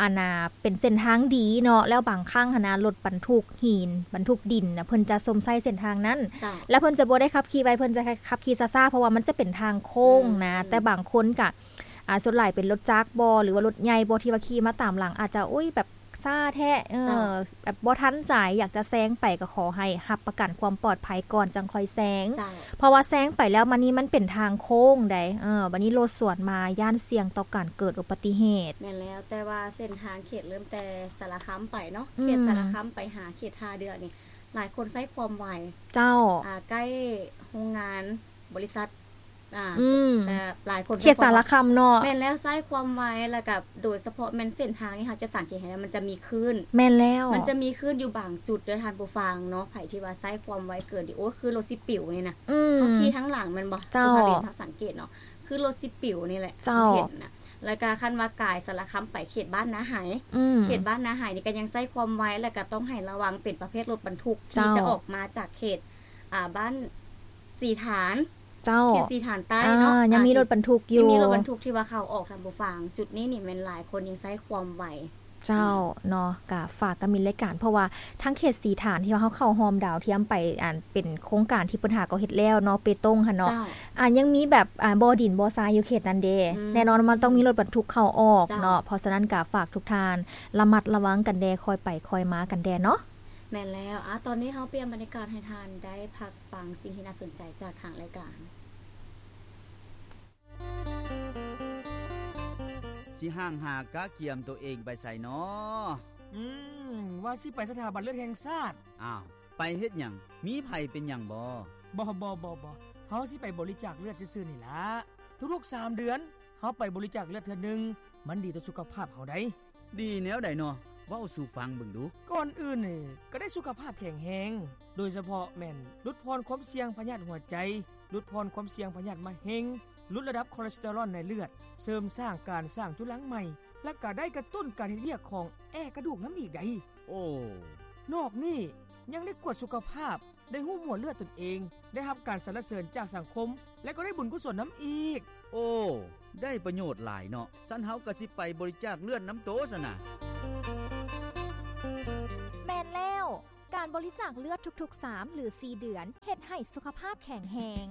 ອັນນ່າ ເປັນເສັ້ນທາງດີເນາະ ແລ້ວບາງຄັ້ງຫັ້ນນະ ລົດບັນທຸກຫີນ ບັນທຸກດິນນະ ເພິ່ນຈະຊົມໃຊ້ເສັ້ນທາງນັ້ນ ເຈົ້າ ແລ້ວເພິ່ນຈະບໍ່ໄດ້ຂັບຂີ່ໄວ ເພິ່ນຈະຂັບຂີ່ຊ້າໆ ເພາະວ່າມັນຈະເປັນທາງໂຄ້ງນະ ອືມ ແຕ່ບາງຄົນກະ ອາ ສ່ວນຫຼາຍເປັນລົດຈັກບໍ ຫຼືວ່າລົດໃຫຍ່ບໍ ທີ່ວ່າຂີ່ມາຕາມຫຼັງ ອາດຈະ ໂອ້ຍ ແບບຊ້າແທ້ ເອີ ເຈົ້າ ແບບບໍ່ທັນໃຈ ຢາກຈະແຊງໄປ ກະຂໍໃຫ້ຮັບປະກັນຄວາມປອດໄພກ່ອນ ຈັ່ງຄ່ອຍແຊງ ເຈົ້າ ເພາະວ່າແຊງໄປແລ້ວ ມັນນີ້ມັນເປັນທາງໂຄ້ງໃດ໋ ເອີ ບາດນີ້ລົດສວນມາ ຢ້ານສ່ຽງຕໍ່ການເກີດອຸບັດຕິເຫດ. ແມ່ນແລ້ວ ແຕ່ວ່າເສັ້ນທາງເຂດເລີ່ມແຕ່ສາລະຄຳໄປເນາະ ອືມ ເຂດສາລະຄຳໄປຫາເຂດທ່າເດື່ອນີ້ ຫຼາຍຄົນໃຊ້ຄວາມໄວ ເຈົ້າ ອ່າ ໃກ້ໂຮງງານ ບໍລິສັດ ອ່າ ອືມ ແຕ່ຫຼາຍຄົນ ເຂດສາລະຄຳເນາະ ແມ່ນແລ້ວ ໃຊ້ຄວາມໄວ ແລ້ວກໍໂດຍສະເພາະແມ່ນເສັ້ນທາງນີ້ ເຮົາຈະສັງເກດເຫັນວ່າມັນຈະມີຄື້ນ ແມ່ນແລ້ວ ມັນຈະມີຄື້ນຢູ່ບາງຈຸດເດີທ່ານຜູ້ຟັງເນາະ ໃຜທີ່ວ່າໃຊ້ຄວາມໄວເກີນນີ້ ໂອ້ຍ ຄືລົດຊິປິວນີ້ນະ ອືມ ເຮົາຂີ່ທາງຫຼັງແມ່ນບໍ່? ເຈົ້າ ສຸພາລິນ ເຮົາສັງເກດເນາະ ຄືລົດຊິປິວນີ້ແຫຼະ ເຈົ້າ ເຫັນນະ ແລ້ວກໍຄັນວ່າກາຍສາລະຄຳໄປເຂດບ້ານນາໄຫ ອືມ ເຂດບ້ານນາໄຫນີ້ກໍຍັງໃຊ້ຄວາມໄວ ແລ້ວກໍຕ້ອງໃຫ້ລະວັງເປັນປະເພດລົດບັນທຸກ ເຈົ້າ ທີ່ຈະອອກມາຈາກເຂດ ອ່າ ບ້ານສີຖານ ເຈົ້າ ເຂດສີຖານໃຕ້ເນາະ ອ່າ ຍັງມີລົດບັນທຸກຢູ່ ຍັງມີລົດບັນທຸກທີ່ວ່າເຂົ້າອອກ ທ່ານຜູ້ຟັງ ຈຸດນີ້ນີ້ແມ່ນຫຼາຍຄົນຍັງໃຊ້ຄວາມໄວ ເຈົ້າ ອືມ ເນາະ ກະຝາກກະມິນລາຍການ ເພາະວ່າທາງເຂດສີຖານທີ່ວ່າເຮົາເຂົ້າຮ່ອມດາວທຽມໄປ ອັນເປັນໂຄງການທີ່ເພິ່ນຫາກໍເຮັດແລ້ວເນາະ ເປຕົງຫັ້ນເນາະ ເຈົ້າ ອ່າ ຍັງມີແບບ ອ່າ ບໍ່ດິນບໍ່ຊາຍຢູ່ເຂດນັ້ນເດ້ ອືມ ແນ່ນອນວ່າມັນຕ້ອງມີລົດບັນທຸກເຂົ້າອອກ ເຈົ້າ ເນາະ ເພາະສະນັ້ນກະຝາກທຸກທ່ານລະມັດລະວັງກັນແດ່ ຄ່ອຍໄປຄ່ອຍມາກັນແດ່ເນາະ ແມ່ນແລ້ວ ອ່າ ຕອນນີ້ເຮົາປ່ຽນບັນຍາກາດໃຫ້ທ່ານໄດ້ພັກຟັງສິ່ງທີ່ໜ້າສົນໃຈຈາກທາງລາຍການ. ຊິຫ້າງຫາກະກຽມໂຕເອງໄປໃສນໍ? ອືມ ວ່າຊິໄປສະຖາບັນເລືອດແຫ່ງຊາດ. ອ້າວ ໄປເຮັດຫຍັງ? ມີໃຜເປັນຫຍັງບໍ? ບໍ່ ບໍ່ ບໍ່ ບໍ່ ເຮົາຊິໄປບໍລິຈາກເລືອດຊື່ໆນີ້ລະ. ທຸກໆສາມເດືອນ ເຮົາໄປບໍລິຈາກເລືອດເທື່ອໜຶ່ງ ມັນດີຕໍ່ສຸຂະພາບເຮົາໃດ໋. ດີແນວໃດນໍ? ເວົ້າສູ່ຟັງເບິ່ງດູ. ກ່ອນອື່ນນີ້ ກໍໄດ້ສຸຂະພາບແຂງແຮງ, ໂດຍສະເພາະແມ່ນຫຼຸດຜ່ອນຄວາມສ່ຽງພະຍາດຫົວໃຈ, ຫຼຸດຜ່ອນຄວາມສ່ຽງພະຍາດມະເຮັງ, ຫຼຸດລະດັບຄອເລສເຕີຣອນໃນເລືອດ, ເສີມສ້າງການສ້າງຈຸລັງໃໝ່, ແລະ ກໍໄດ້ກະຕຸ້ນການເຮັດວຽກຂອງແອກະດູກນຳອີກໃດ໋. ໂອ້ ນອກນີ້ຍັງໄດ້ກວດສຸຂະພາບ, ໄດ້ຮູ້ໝວດເລືອດຕົນເອງ, ໄດ້ຮັບການສັນລະເສີນຈາກສັງຄົມ ແລະ ກໍໄດ້ບຸນກຸສົນນຳອີກ. ໂອ້ ໄດ້ປະໂຫຍດຫຼາຍເນາະ. ຊັ້ນເຮົາກໍຊິໄປບໍລິຈາກເລືອດນຳໂຕຊັ້ນນະ. ແມ່ນແລ້ວ, ການບໍລິຈາກເລືອດທຸກໆສາມ ຫຼື ສີ່ເດືອນ ເຮັດໃຫ້ສຸຂະພາບແຂງແຮງ.